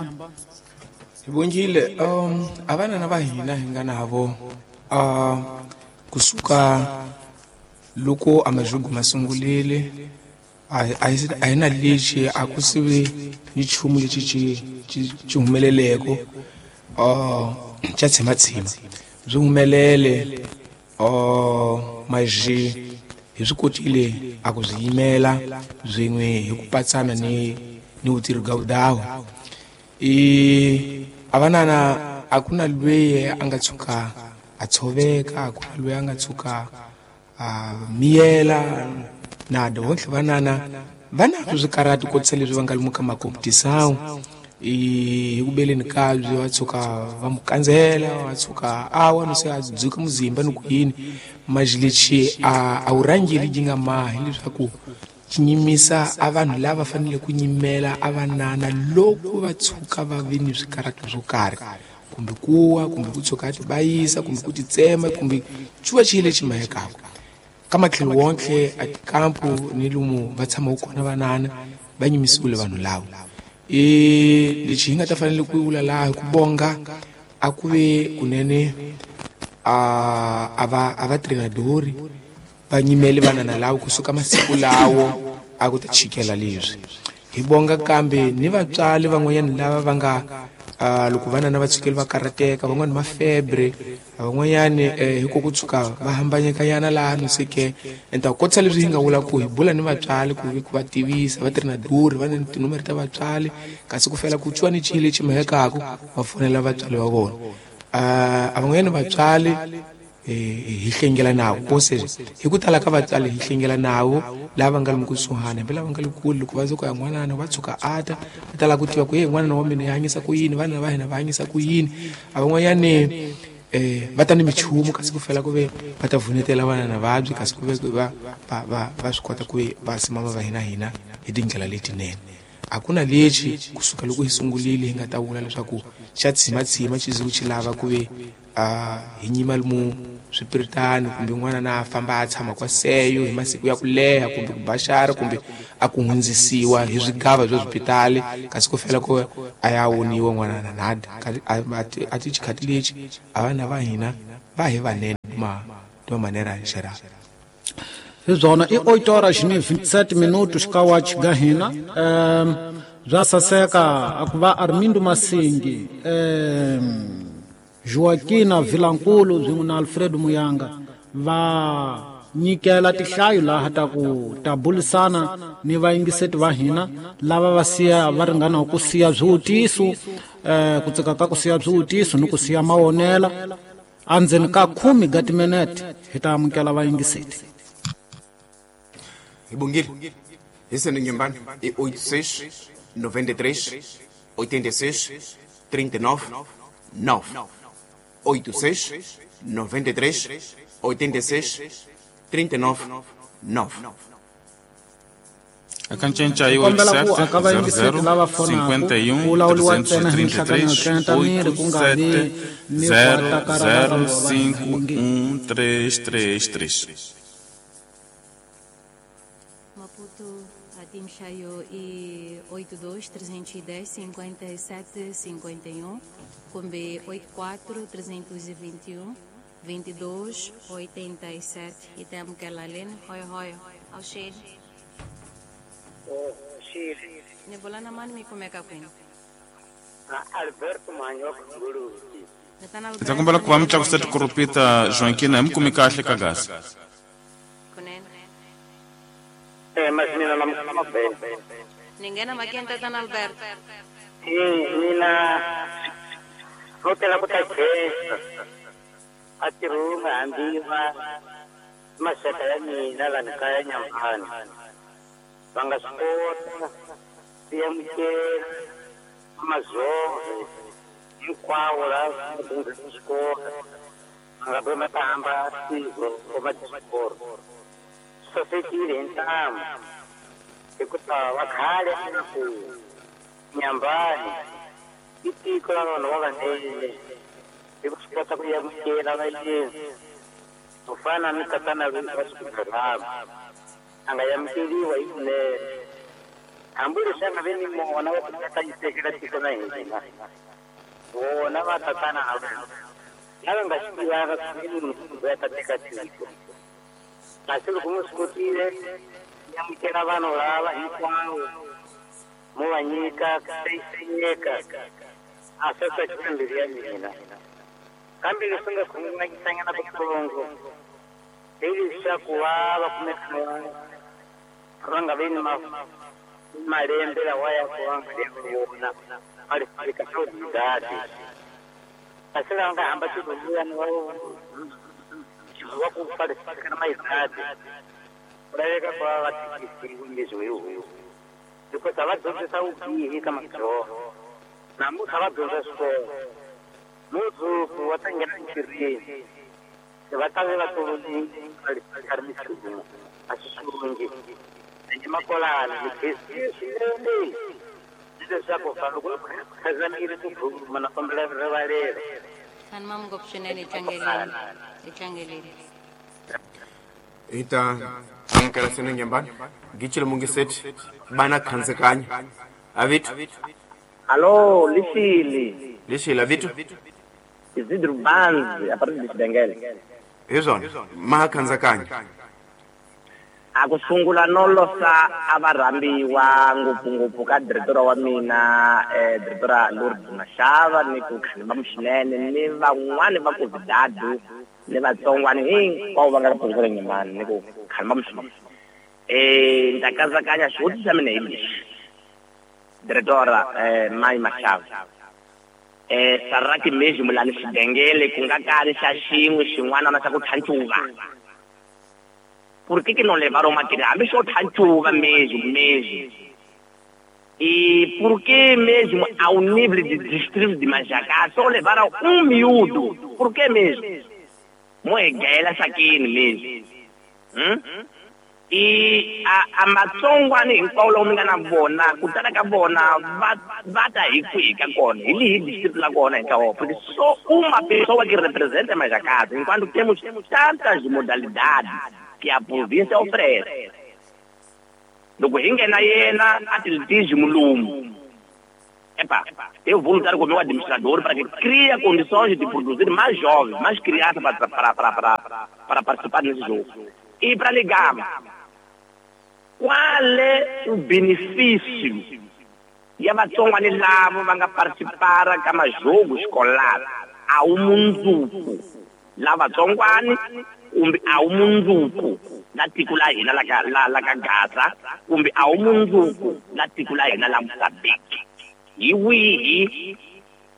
hi vongile um a vanana va hina hi nga navo uh kusuka loko a majugu ma sungulile a a hi na lexi a ku sive ni nchumu lexi xi xi humeleleko uh xa tshimatsima byi humelele uh maji hi swi kotile a ku byi yimela byin'we hi ku patsana ni ni vutirhi ga vudawu i a vanana a ku na lweyi a nga tshuka a tshoveka a ku na lweyi a nga tshuka a miyela na vontlhe vanana va na swikarhati kotisa leswi va nga lomu ka makompetisawu i hi ku beleni kabye va tshuka va mu kandzela va tshuka a wa no se a dzuka muzimba ni ku yini maji lexi a a wu rhangeli yi nga mahi leswaku xi nyimisa a vanhu lava fanele ku nyimela a vanana loko va tshuka va ve ni swikarhati swo karhi kumbe kuwa kumbe ku tshuka a tibayisa kumbe ku titsema kumbe xuva xi lexi mahekaka ka matlhelo wontlhe a tikampu ni lomu va tshamaka kona vanana va nyimisiwile vanhu lava i lexi hi nga ta fanele ku vula laha hi ku bonga a ku ve kunene a a va a va trenadori va nyimele vanana lava kusuka masiku lawo a ku ta chikela leswi hi bonga kambe ni vatswari van'wanyana lava va nga Uh, loko vana na va tshukeli va karhateka van'wani ma febre van'wanyani eh, hi ku ku tshuka va hambanyekanyana laha no se ke enta kotisa leswi hi nga vula ku hi bula ni vatswari ku ku va tivisa va tirhi na duri va ni tinomere ta vatswari kasi ku fela ku tshwa ni chile lexi mahekaku va fonela vatswari va vona. Uh, a van'wanyani vatswari hi hlengela nawo kose hi ku tala ka vatswari hi hlengela nawo lava nga le kusuhani hambi lava nga le kule loko va ze ku ya n'wanana va tshuka ata va tala ku tiva ku ye n'wanana wa mina yi hanyisa ku yini vana va hina va hanyisa ku yini. A van'wanyani eh va ta ni michumu kasi ku fela ku ve va ta vunetela vana na vabyi kasi ku ve va va va va swi kota ku va simama va hina hina hi tindlela letinene. A ku na lexi kusuka loko hi sungulile hi nga ta vula leswaku xa tshimatsima xi ze ku xi lava ku ve a hi nyima mu swipiritani kumbe n'wana na famba a tshama kwa seyo hi masiku ya ku leha kumbe ku baxara kumbe a ku hundzisiwa hi swigava bya swipitali kasi ku fela ku a ya woniwa n'wana na nada a ti xikhati lexi a vana va hina va hi vanene ma de maneira geral. Hi byona i oito horas ni vinte e sete minutos ka wachi ga hina. Um, bya saseka a ku va Armindo Masingi um, Joaquina Vilankulu swin'we na Alfredo Muyanga va nyikela tihlayo laha ta ku ta bulisana ni vayingiseti va hina lava va siya va ringana ku siya swivutiso eh, ku tsaka ka ku siya swivutiso ni ku siya mawonela andzeni ka khume ga timinete hi ta amukela vayingiseti. Hi bongile hi sene nyembani i oito seis noventa e três oitenta e seis trinta e nove nove oito seis noventa e três oitenta e seis trinta e nove nove. Akancenca aí oito sete zero zero cinquenta e um trezentos e trinta e três oito sete zero zero cinco um três três três. Maputo Atimchaio e oito dois trezentos e dez cinquenta e sete cinquenta e um kumbe oito quatro trezentos e vinte e um vinte e dois oitenta e sete e temos que ela lena hoi hoi ao cheiro. Oh, Chile. Nebolana mani mi kumeka kwini? Alberto Manyoka Ngulu. Ndza kombela ku va mi tlakusa tikoropita Joaquina hi mi kumi kahle ka gasi. Kunene. Eh, mas mina na mabele. Ni nghena makeni tatana Alberto. Eh, mina hotela ku ta khensa. A tirhuma hambi va maxaka ya mina lani kaya Nyamhani. Va nga swi kota ku amukela mazongo hinkwawo laha va dyondzisa xikolo va nga ve ma ta hamba tiko va xikolo swi sasekile hi ntamu hikuva va khale a ku Nyambani i tiko ra vanhu va vanene hi ku swi kota ku amukela vayeni ku fana ni tatana loyi va xibedhlele a nga amukeriwa hi kunene hambi leswi a nga ve ni mona wa ku ta yisekela tiko na hina vona va tatana a va lava nga swi tivaka ku munhu loyi a ta teka tiko kasi loko mi swi kotile mi amukela vanhu lava hinkwavo mo va nyika ku seyisenyeka a swi tsakisa mbilu ya mina kambe leswi nga khunguvanyisanyana kutsongo hi leswaku va va kumeka va nga vi ni malembe lawa ya ku va nga ri wona va ri ka swa kasi lava nga hamba tiloliyani va va ku falifika na mayigadi ku laveka ku va va tikisiwe leswi hi huku because a va dyondzisa vubihi ka madzoho namuntlha va dyondza xikolo mundzuku va ta nghena entirhweni va ta ve va tolovile ri michumu a swi xungi ende makolani ni khensile swinene ni leswaku loko khazamile tikhuluma na kombela rivalelo. Khani ngopfu swinene hi tlangeleni hi tlangeleni. Hi ta amukela sene Nyambani gichile mungiseti bana khansekanya avitu. Alô, Lixile. Lixile avitu. Isidro Banzi, a partir de Xibengele. Hi swona maha khansekanya. A ku sungula no losa a va rhambiwa ngopfungopfu ka diretora wa mina eh diretora Lourdes Mashava ni ku Khanimba Mushinene ni van'wani va Covidado ni vatsongwani hinkwavo va nga ka province ya Nyembani ni ku Khanimba Mushinene. Eh ni ta katsakanya xivutiso xa mina hi lexi. Diretora eh Mai Mashava. Eh saraki mesmo mulani xidengele ku nga kali xa xin'we xin'wana na xa ku thancuva. Por que que não levaram material? Hambi xo thancuva mesmo mesmo. E por que mesmo ao nível de distrito de Majacá só levaram um miúdo? Por que mesmo? Moegela saquini mesmo. Hum? E a a matsongwani hinkwavo lava mi nga na vona ku tala ka vona va va ta hi kwihi ka kona hi lihi distrito la kona hi ntlawa porque só uma pessoa que representa Majacá enquanto temos tantas modalidades que a província oferece. Loko hi nghena yena atletismo lumu. Epa, eu vou lutar com o meu administrador para que crie condições de produzir mais jovens, mais crianças para, para, para, para, para participar nesse jogo. E para ligar, qual é o benefício? E a vatsongwani lavo va nga participar ka majogo escolar a wu mundzuku la vatsongwani kumbe a wu mundzuku la tiko la hina la ka la la ka Gaza kumbe a wu mundzuku la tiko la hina la Mozambique. Hi wihi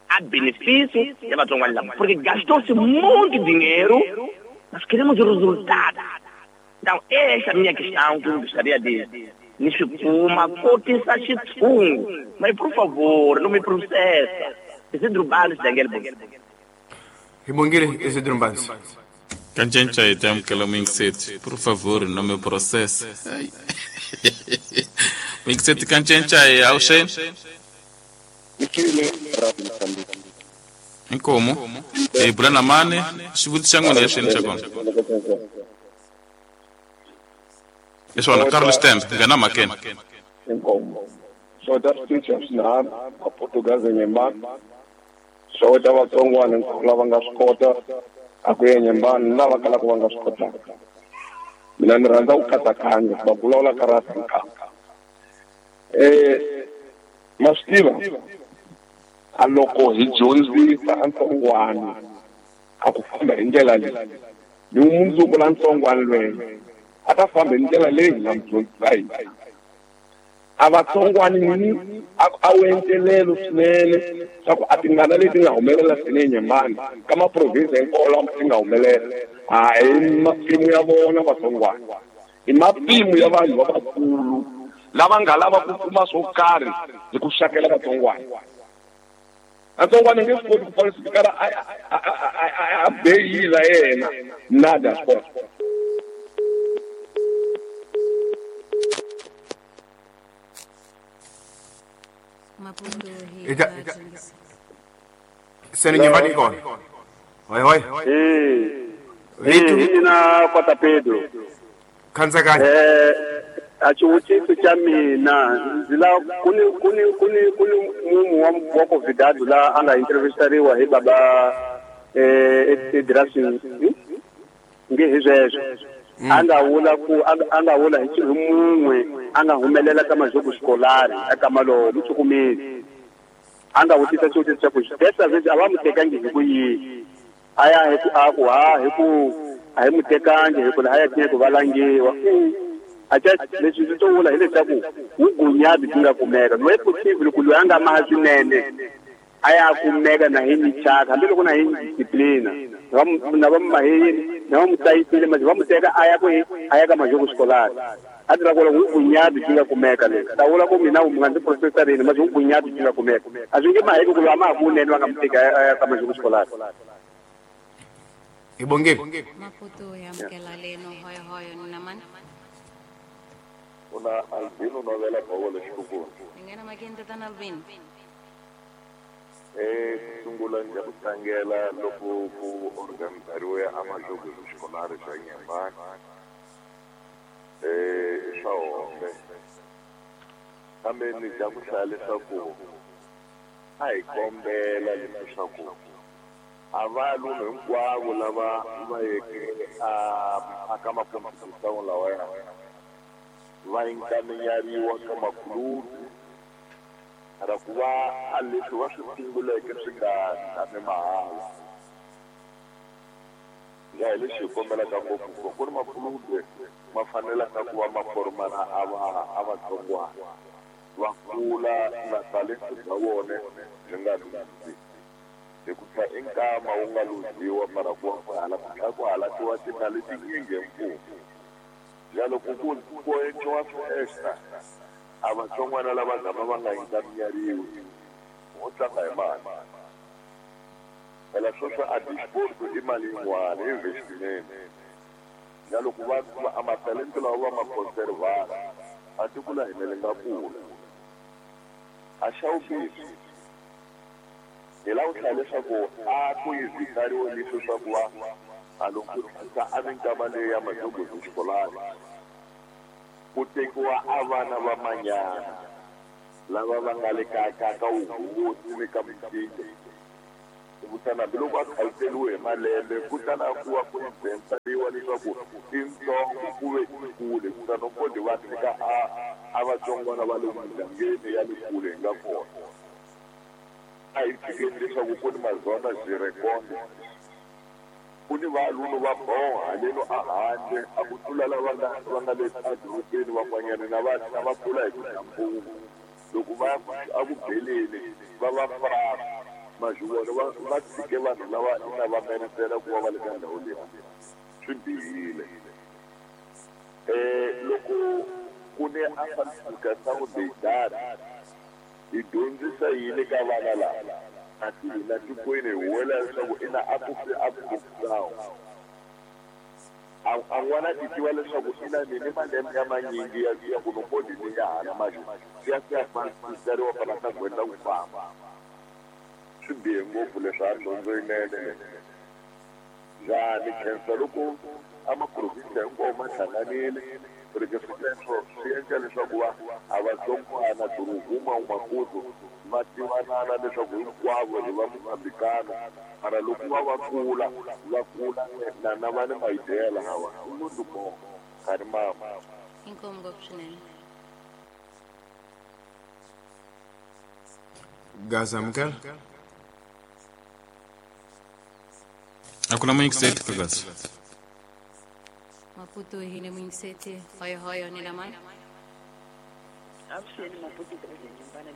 a benefício ya vatsongwani lava? Porque gastou-se muito dinheiro, mas queremos o resultado. Então, essa é a minha questão que eu gostaria de me chupuma, cotisa xitshungu. Mas, por favor, não me processa. Isidro Banzi, Daniel Bongile. Hi Bongile, Isidro Banzi. Kancenca hi ta amukela muyingiseti. Por favor, não me processa. Muyingiseti kancenca hi awuxeni. Inkomo. Hi bula na mani, xivutiso xa n'wina exeni xa kona. Isona Carlos Tembe, nghena mhakeni. Inkomo. Xota switichi swinharhu Maportuguese Nyembani. Xota vatsongwana lava nga swi kota a ku ya Nyembani lava kalaka va nga swi kotaka. Mina ni rhandza ku katsakanya va vulavula ka rasa nkarhi. Eh ma swi tiva a loko hi dyondzisa ntsongwana a ku famba hi ndlela leyi ni mundzuku la ntsongwana lweyo a ta famba hi ndlela leyi hi nga mu dyondzisa hi a vatsongwani ni a wu entelelo swinene swa ku a tingana leti nga humelela swinene Nyembani ka maprovinsi hinkwawo lama ti nga humelela a hi matimu ya vona vatsongwani i matimu ya vanhu lavakulu lava nga lava ku kuma swo karhi hi ku xakela vatsongwani. Vatsongwani nge swi koti ku falsifikara a beyila yena nada swi kota. Maputo hi Seni Nyembani kona. Hoi hoi. Eh. Eh, ina Kota Pedro. Khantsakanya. Eh, a xivutiso xa mina ndzi la kuni kuni kuni kuni munhu wa wa Covidado la a nga interview-riwa hi baba eh e nge hi sweswo a nga vula ku a nga vula hi xilo mun'we a nga humelela ka majogo skolari eka malowo muchukumeli a nga vutisa xivutiso xa ku desa a va mu tekangi hi ku yini a ya hi ku a ku ha hi ku a hi mu tekangi hi ku la a ya ku va langiwa acha leswi swi to vula hileswaku vungunyabi byi nga kumeka loyi possible ku loyi a nga maha swinene a ya kumeka na hi michaka hambiloko na hi disciplina na va maheyini na va mu tsayisile manje va mu teka a ya ku a ya ka majogo skolari a ti la ku vungunyabi byi nga kumeka leswi ta vula ku mina mu nga ndzi profesarini manje vungunyabi byi nga kumeka a swi nge maheki ku loyi a ma ha kunene va nga mu teka a ya ka majogo skolari. Hi Bongile. Maputo hi amukela leno hoyo hoyo ni na mani. Una Albino novela Paolo Xikukulu. Ni nghena makeni tatana Albino. Eh sungula ndzi ku tlangela loko ku organizariwe a majogo swikolari swa Nyembani. Eh swa hombe. Kambe ni dya ku hlaya leswaku a hi kombela leswaku a valume hinkwavo lava va yeke a ka makompetition lawaya Va encaminhariwa ka makulubi ra ku va a leswi va swi sunguleke swi nga tshami mahala. Ya hi lexi hi kombelaka ngopfu ku ku ri makulubi ma fanelaka ku va ma formana a va a vatsongwana va kula na talento bya vona byi nga luzi hi ku tlha i nkama wu nga luziwa mara ku va ku hala ku tlhela ku halatiwa timali tinyingi hi mfumo. Ya loko ku ku endliwa fiesta a vatsongwana lava gama va nga encaminhariwi ho tlanga hi mali. Phela sweswo a disporto i mali yin'wana i investment. Ya loko va a matalento lawa va ma conservana a tiko la hina li nga kula. A xa vumbirhi hi lava ku hlaya leswaku a ku yizikariwe leswi swa ku va a loko ku tlhisa a minkama leyi ya majogozi xikolani ku tekiwa a vana va manyana lava va nga le ka ka ka wuhosi ni ka micinco. Kutani hambiloko a khaliseriwe hi malembe kutani a ku va ku inventariwa leswaku i ntsongo ku ve i kule kutani u koti va tshika a a vatsongwana va le mugangeni ya le kule hi nga kona. A hi tshikeni leswaku ku ni mazona zirekonde ku ni valunu va boha haleno a handle a ku tlula lava nga va nga le edorobeni van'wanyana na va na va kula hi ku dya mpungu loko va ya a ku beleni va va fraka mazivona va va tshike vanhu lava ina va merisela ku va va le ka ndhawu leyi swi bihile. Eh loko ku ne a falsificação de idade hi dyondzisa yini ka vana lava kasi hina tikweni hi huwelela leswaku ina a ku fi a corrupção. A a n'wana ti tiva leswaku ina ni ni malembe ya manyingi ya ya ku no koti ni ya hala manje swi ya swi ya falsificariwa fana na gwenda ku famba. Swi bihe ngopfu leswi a dyondzo yinene. Njhani khensa loko a maprovinsi hinkwawo ma hlanganile porque sweswo swi endla leswaku va a vatsongwana durhuma Maputo va tivanana leswaku hinkwavo hi va Mozambikano mara loko va va kula va kula na na va ni maidea lawa i muito bom kari mama. Inkomu ngopfu swinene. Gaza amukela. A ku na muyingiseti ka Gaza. Maputo hi ne muyingiseti hoyo hoyo ni lamani. Avuxeni Maputo Nyembana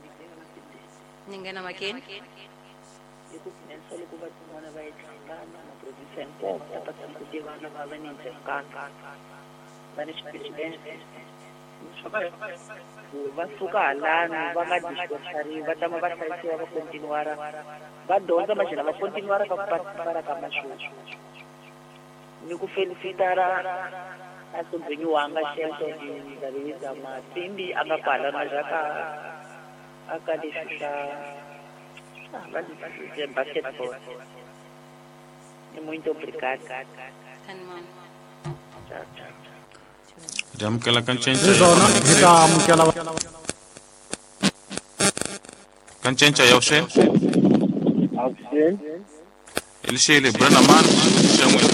ni nghena makeni. Hi ku khensa loko vatsongwana va yi hlangana maprovinsi hinkwawo va ta pata ku tivana va va ni ndzhekano va ni xipirivende va suka halano va nga discourageriwi va tama va hlayisiwa va continuara va dyondza maxana va continuara ka ku participara ka mashow. Ni ku felicitara a sombhenyi wanga Shelton Ndabeza Matsimbi a nga kwala na ka a ka leswi swa va leswi basketball. Ni muito obrigado. Tchau, tchau. Hi amukela ka ncinca Hi swona hi ta amukela ka ncinca ya vuxeni. Avuxeni. Elixele Brennaman xa n'wina.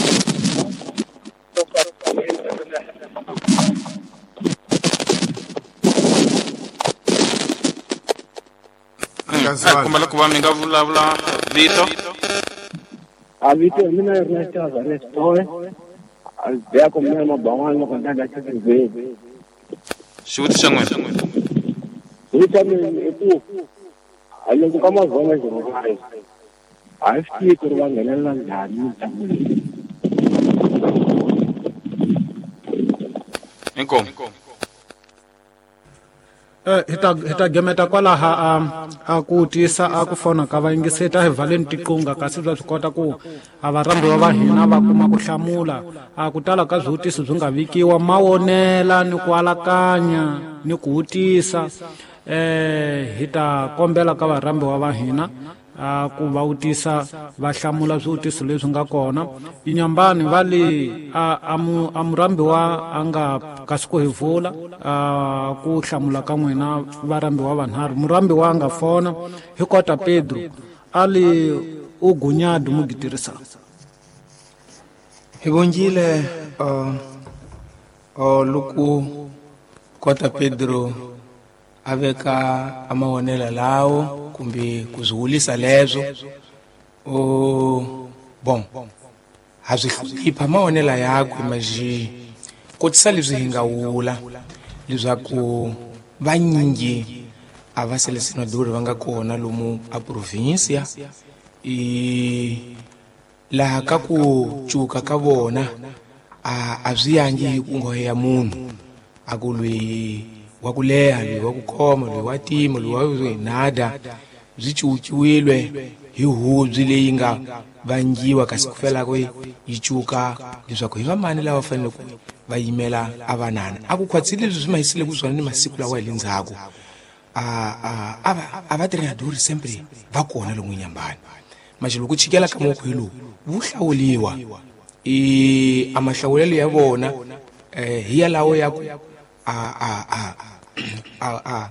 A kombela ku va mi nga vulavula vito. A vito hi mina Ernesto Alvarez Toy. A biya ku mina maban'wana loko ni nga xiveni. Xivutiso xa n'wina. Xivutiso xa mina i ku a loko ka mazona xirhokare a hi swi tivi ku ri va nghenelela njhani mitlangu leyi. Inkomu. Eh hi ta hi ta gemeta kwalaha a a ku tisa a ku fona ka vayingiseti a hi valeni tiqunga kasi bya swi kota ku a varhambiwa va hina va kuma ku hlamula a ku tala ka swivutiso byi nga vikiwa mawonela ni ku alakanya ni ku vutisa eh hi ta kombela ka varhambiwa va hina a ku va vutisa va hlamula swivutiso leswi nga kona. Inyambani va le a a mu a murhambiwa a nga kasi ku hi vula a ku hlamula ka n'wina varhambiwa vanharhu. Murhambiwa a nga fona hi kota Pedro a li u gunyadu mugitirisa. Hi vonjile uh, uh, loko Kota Pedro a veka a mavonelo lawo kumbe ku swi wulisa leswo o bon ha swi hlonipha mavonelo yakwe maji kotisa leswi hi nga wula leswaku vanyingi a va selesenadori va nga kona lomu a provincia i laha ka ku cuka ka vona a a swi yangi hi ku nghohe ya munhu a ku lweyi wa ku leha lweyi wa ku khoma lweyi wa tima lweyi wa nada byi cukiwile hi hubyi leyi nga vangiwa kasi ku fela ku yi cuka leswaku hi vamani lava fanele ku va yimela a vanana a ku khwatsile leswi swi mahisile ku swona ni masiku lawa hi le ndzhaku a a a va a va treinador sempre va kona lomu Nyambani manje loko chikela ka moko hi lowu wu hlawuliwa i a mahlawulelo ya vona eh hi yalawo ya ku a a a a a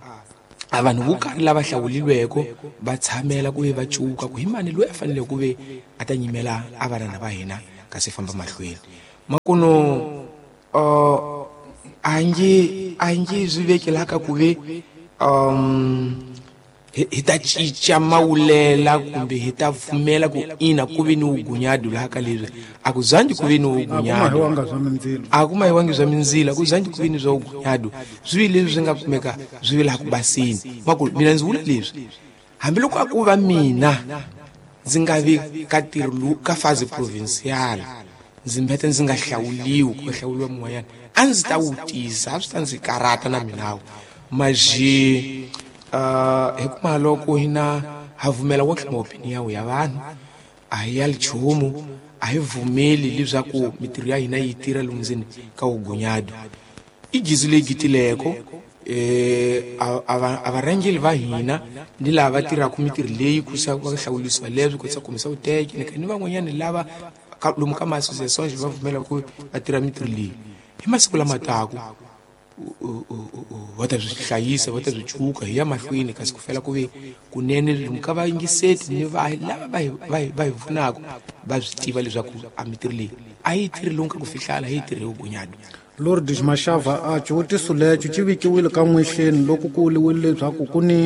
a vanhu vo karhi lava hlawulilweko va tshamela ku ve va cuka ku hi mani loyi a fanele ku ve a ta nyimela a vanana va hina kasi famba mahlweni makuno uh, a nge a nge swi vekelaka ku ve um hi ta cinca mawulela kumbe hi ta pfumela ku ina ku ve ni wugunyadu laha ka leswi a ku zangi ku ve ni wugunyadu a ku mahiwangi swa mindzilo a ku zangi ku ve ni swa wugunyadu swi leswi swi nga kumeka swi ve laha ku basini makulu mina ndzi vula leswi hambiloko a ku va mina ndzi nga vi ka ntirho lowu ka fazi provincial ndzi mbete ndzi nga hlawuliwi ku hlawuliwa mun'wanyana a ndzi ta wu tisa a swi ta ndzi karata na minawu maji Uh, hi kuma loko hina ha vumela wonke maopinion ya vanhu a hi ya nchumu a hi vumeli leswaku mitirho ya hina yi tirha lomu ndzeni ka wugunyadu i gizi leyi gitileko eh a varhangeli va hina ni lava va tirhaka mitirho leyi ku sa va hlawulisiwa leswi ku sa kumisa vuteke ni van'wanyana lava lomu ka ma-association va vumela ku va tirha mitirho leyi hi masiku lama taku va ta swi hlayisa va ta swi cuka hi ya mahlweni kasi ku fela ku ve kunene lomu ka vayingiseti ni va lava va hi va hi va hi pfunaka va swi tiva leswaku a mitirho leyi a yi tirhi lomu ka ku fihlala a yi tirhi hi vugunyadu. Lourdes Mashava a xivutiso lexo xi vikiwile ka n'wexeni loko ku vuliwile leswaku ku ni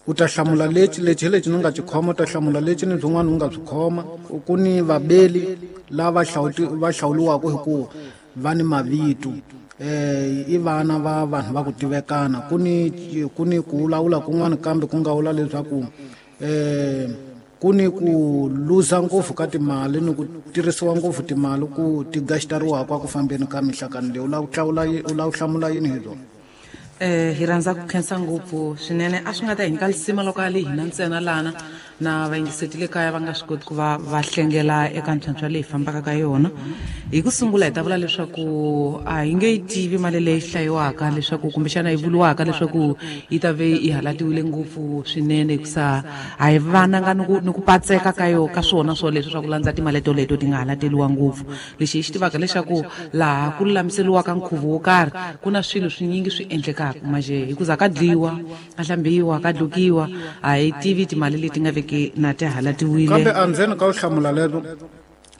u ta hlamula lexi lexi hi lexi ni nga xi khoma u ta hlamula lexi ni byin'wana u nga byi khoma ku ni vabeli lava va hlawuliwaka hi ku va ni mavito eh i vana va vanhu va ku tivekana ku ni ku ni ku vulavula kun'wana kambe ku nga vula leswaku eh ku ni ku luza ngopfu ka timali ni ku tirhisiwa ngopfu timali ku ti gastariwaka ku fambeni ka mihlakano leyi u lava ku hlawula u lava ku hlamula yini hi byona. Eh hi rhandza ku khensa ngopfu swinene a swi nga ta hi nyika lisima loko a li hina ntsena lana na vayingiseti le kaya va nga swi koti ku va va hlengela eka ntlhantlha leyi fambaka ka yona. Hi ku sungula hi ta vula leswaku a hi nge yi tivi mali leyi hlayiwaka leswaku kumbexana yi vuriwaka leswaku yi ta ve yi halatiwile ngopfu swinene hikusa a hi vananga ni ku ni ku patseka ka yo ka swona swoleswo swa ku landza timali toleto ti nga halateliwa ngopfu. Lexi hi xi tivaka leswaku laha ku lulamiseriwaka nkhuvo wo karhi ku na swilo swinyingi swi endlekaka maje hikuza ka dliwa ka hlambiwa ka dlukiwa a hi tivi timali leti nga veki na ti halatiwile. Kambe andzeni ka u hlamula lero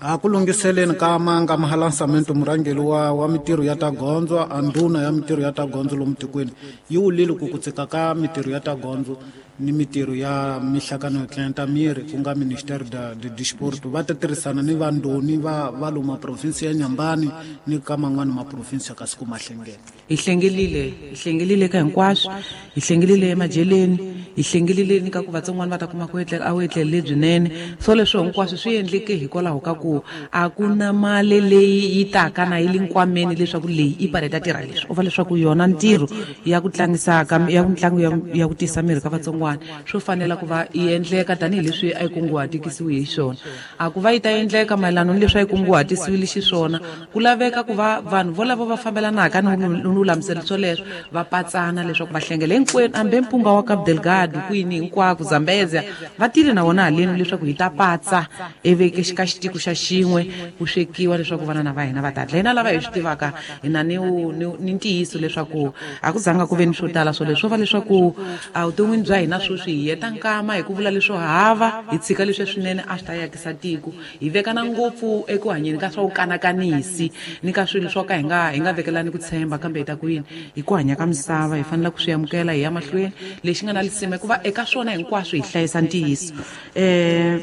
a ku lunghiseleni ka manga mahalansamento murhangeri wa wa mitirho ya ta gondzo a ndhuna ya mitirho ya ta gondzo lomu tikweni yi wulile ku ku tsika ka mitirho ya ta gondzo ni mitirho ya mihlakano yo tlenta miri ku nga Ministério da de Desporto va ta tirhisana ni vandoni va va lomu province ya Nyambani ni ka man'wana ma province kasi ku mahlengela. Hi hlengelile hi hlengelile ka hinkwaswo hi hlengelile emajeleni hi hlengelile ni ka ku vatsongwana va ta kuma ku etlela a wu etlele lebyinene so leswo hinkwaswo swi endleke hikwalaho ka ku a ku na mali leyi yi taka na yi le nkwameni leswaku leyi i pale ta tirha leswi u va leswaku yona ntirho ya ku tlangisa ka ya mitlangu ya ya ku tisa miri ka vatsongwana swo fanela ku va yi endleka tanihileswi a yi kunguhatikisiwe hi xona. A ku va yi ta endleka mayelana ni leswi a yi kunguhatisiwile xiswona ku laveka ku va vanhu volavo va fambelanaka ni lulamiselo swoleswo va patsana leswaku va hlengela hinkwenu hambi mpunga wa Cabo Delgado kwini hinkwako Zambezia va tile na wona haleni leswaku hi ta patsa ivi ka xitiko xa xin'we ku swekiwa leswaku vanana va hina va ta dla. Hina lava hi swi tivaka hina ni ni ntiyiso leswaku a ku zanga ku ve ni swo tala swoleswo va leswaku evuton'wini bya hina hina sweswi hi heta nkama hi ku vula leswo hava hi tshika leswi swinene a swi ta yakisa tiko hi vekana ngopfu eku hanyeni ka swa vukanakanisi ni ka swilo swo ka hi nga hi nga vekelani ku tshemba kambe hi ta ku yini hi ku hanya ka misava hi fanele ku swi amukela hi ya mahlweni lexi nga na lisima hikuva eka swona hinkwaswo hi hlayisa ntiyiso um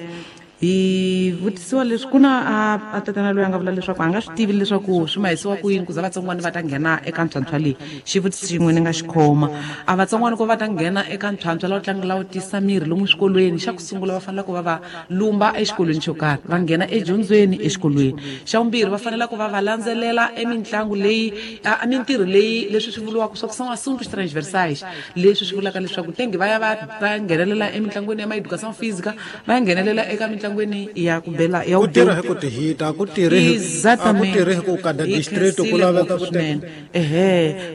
hi vutisiwa leswi ku na a tatana loyi a nga vula leswaku a nga swi tivi leswaku swi mahisiwa ku yini ku za vatsongwana va ta nghena eka ntlhantlha leyi xivutiso xin'we ni nga xi khoma a vatsongwana ku va ta nghena eka ntlhantlha lawu tlanga lawu tisa mirhi lomu swikolweni xa ku sungula va fanele ku va va lumba exikolweni xo karhi va nghena edyondzweni exikolweni xa vumbirhi va fanele ku va va landzelela emitlangu leyi a mintirho leyi leswi swi vuriwaka swa ku são assuntos transversais leswi swi vulaka leswaku tengi va ya va va nghenelela emitlangwini ya ma-educação física va ya nghenelela eka mitlangu ya ku bela ya ku tirha hi ku tihita ku tirhi exactamente ku tirhi hi ku kada district ku laveka ku swinene ehe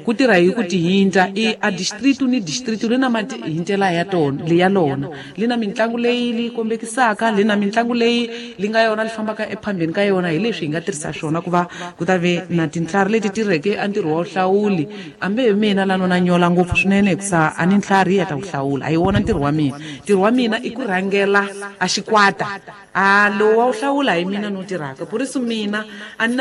ku tirha hi ku tihinta i a district ni district li na matihintela ya tona li ya lona li na mitlangu leyi li kombekisaka li na mitlangu leyi li nga yona li fambaka ephambeni ka yona hi leswi hi nga tirhisa swona ku va ku ta ve na tintlhari leti tirheke a ntirho wa vuhlawuli ambe hi mina la nona nyola ngopfu swinene hikusa a ni ntlhari ya ta ku hlawula a hi wona ntirho wa mina ntirho wa mina i ku rhangela a xikwata a lowu wa wu hlawula hi mina no tirhaka por isso mina a ni na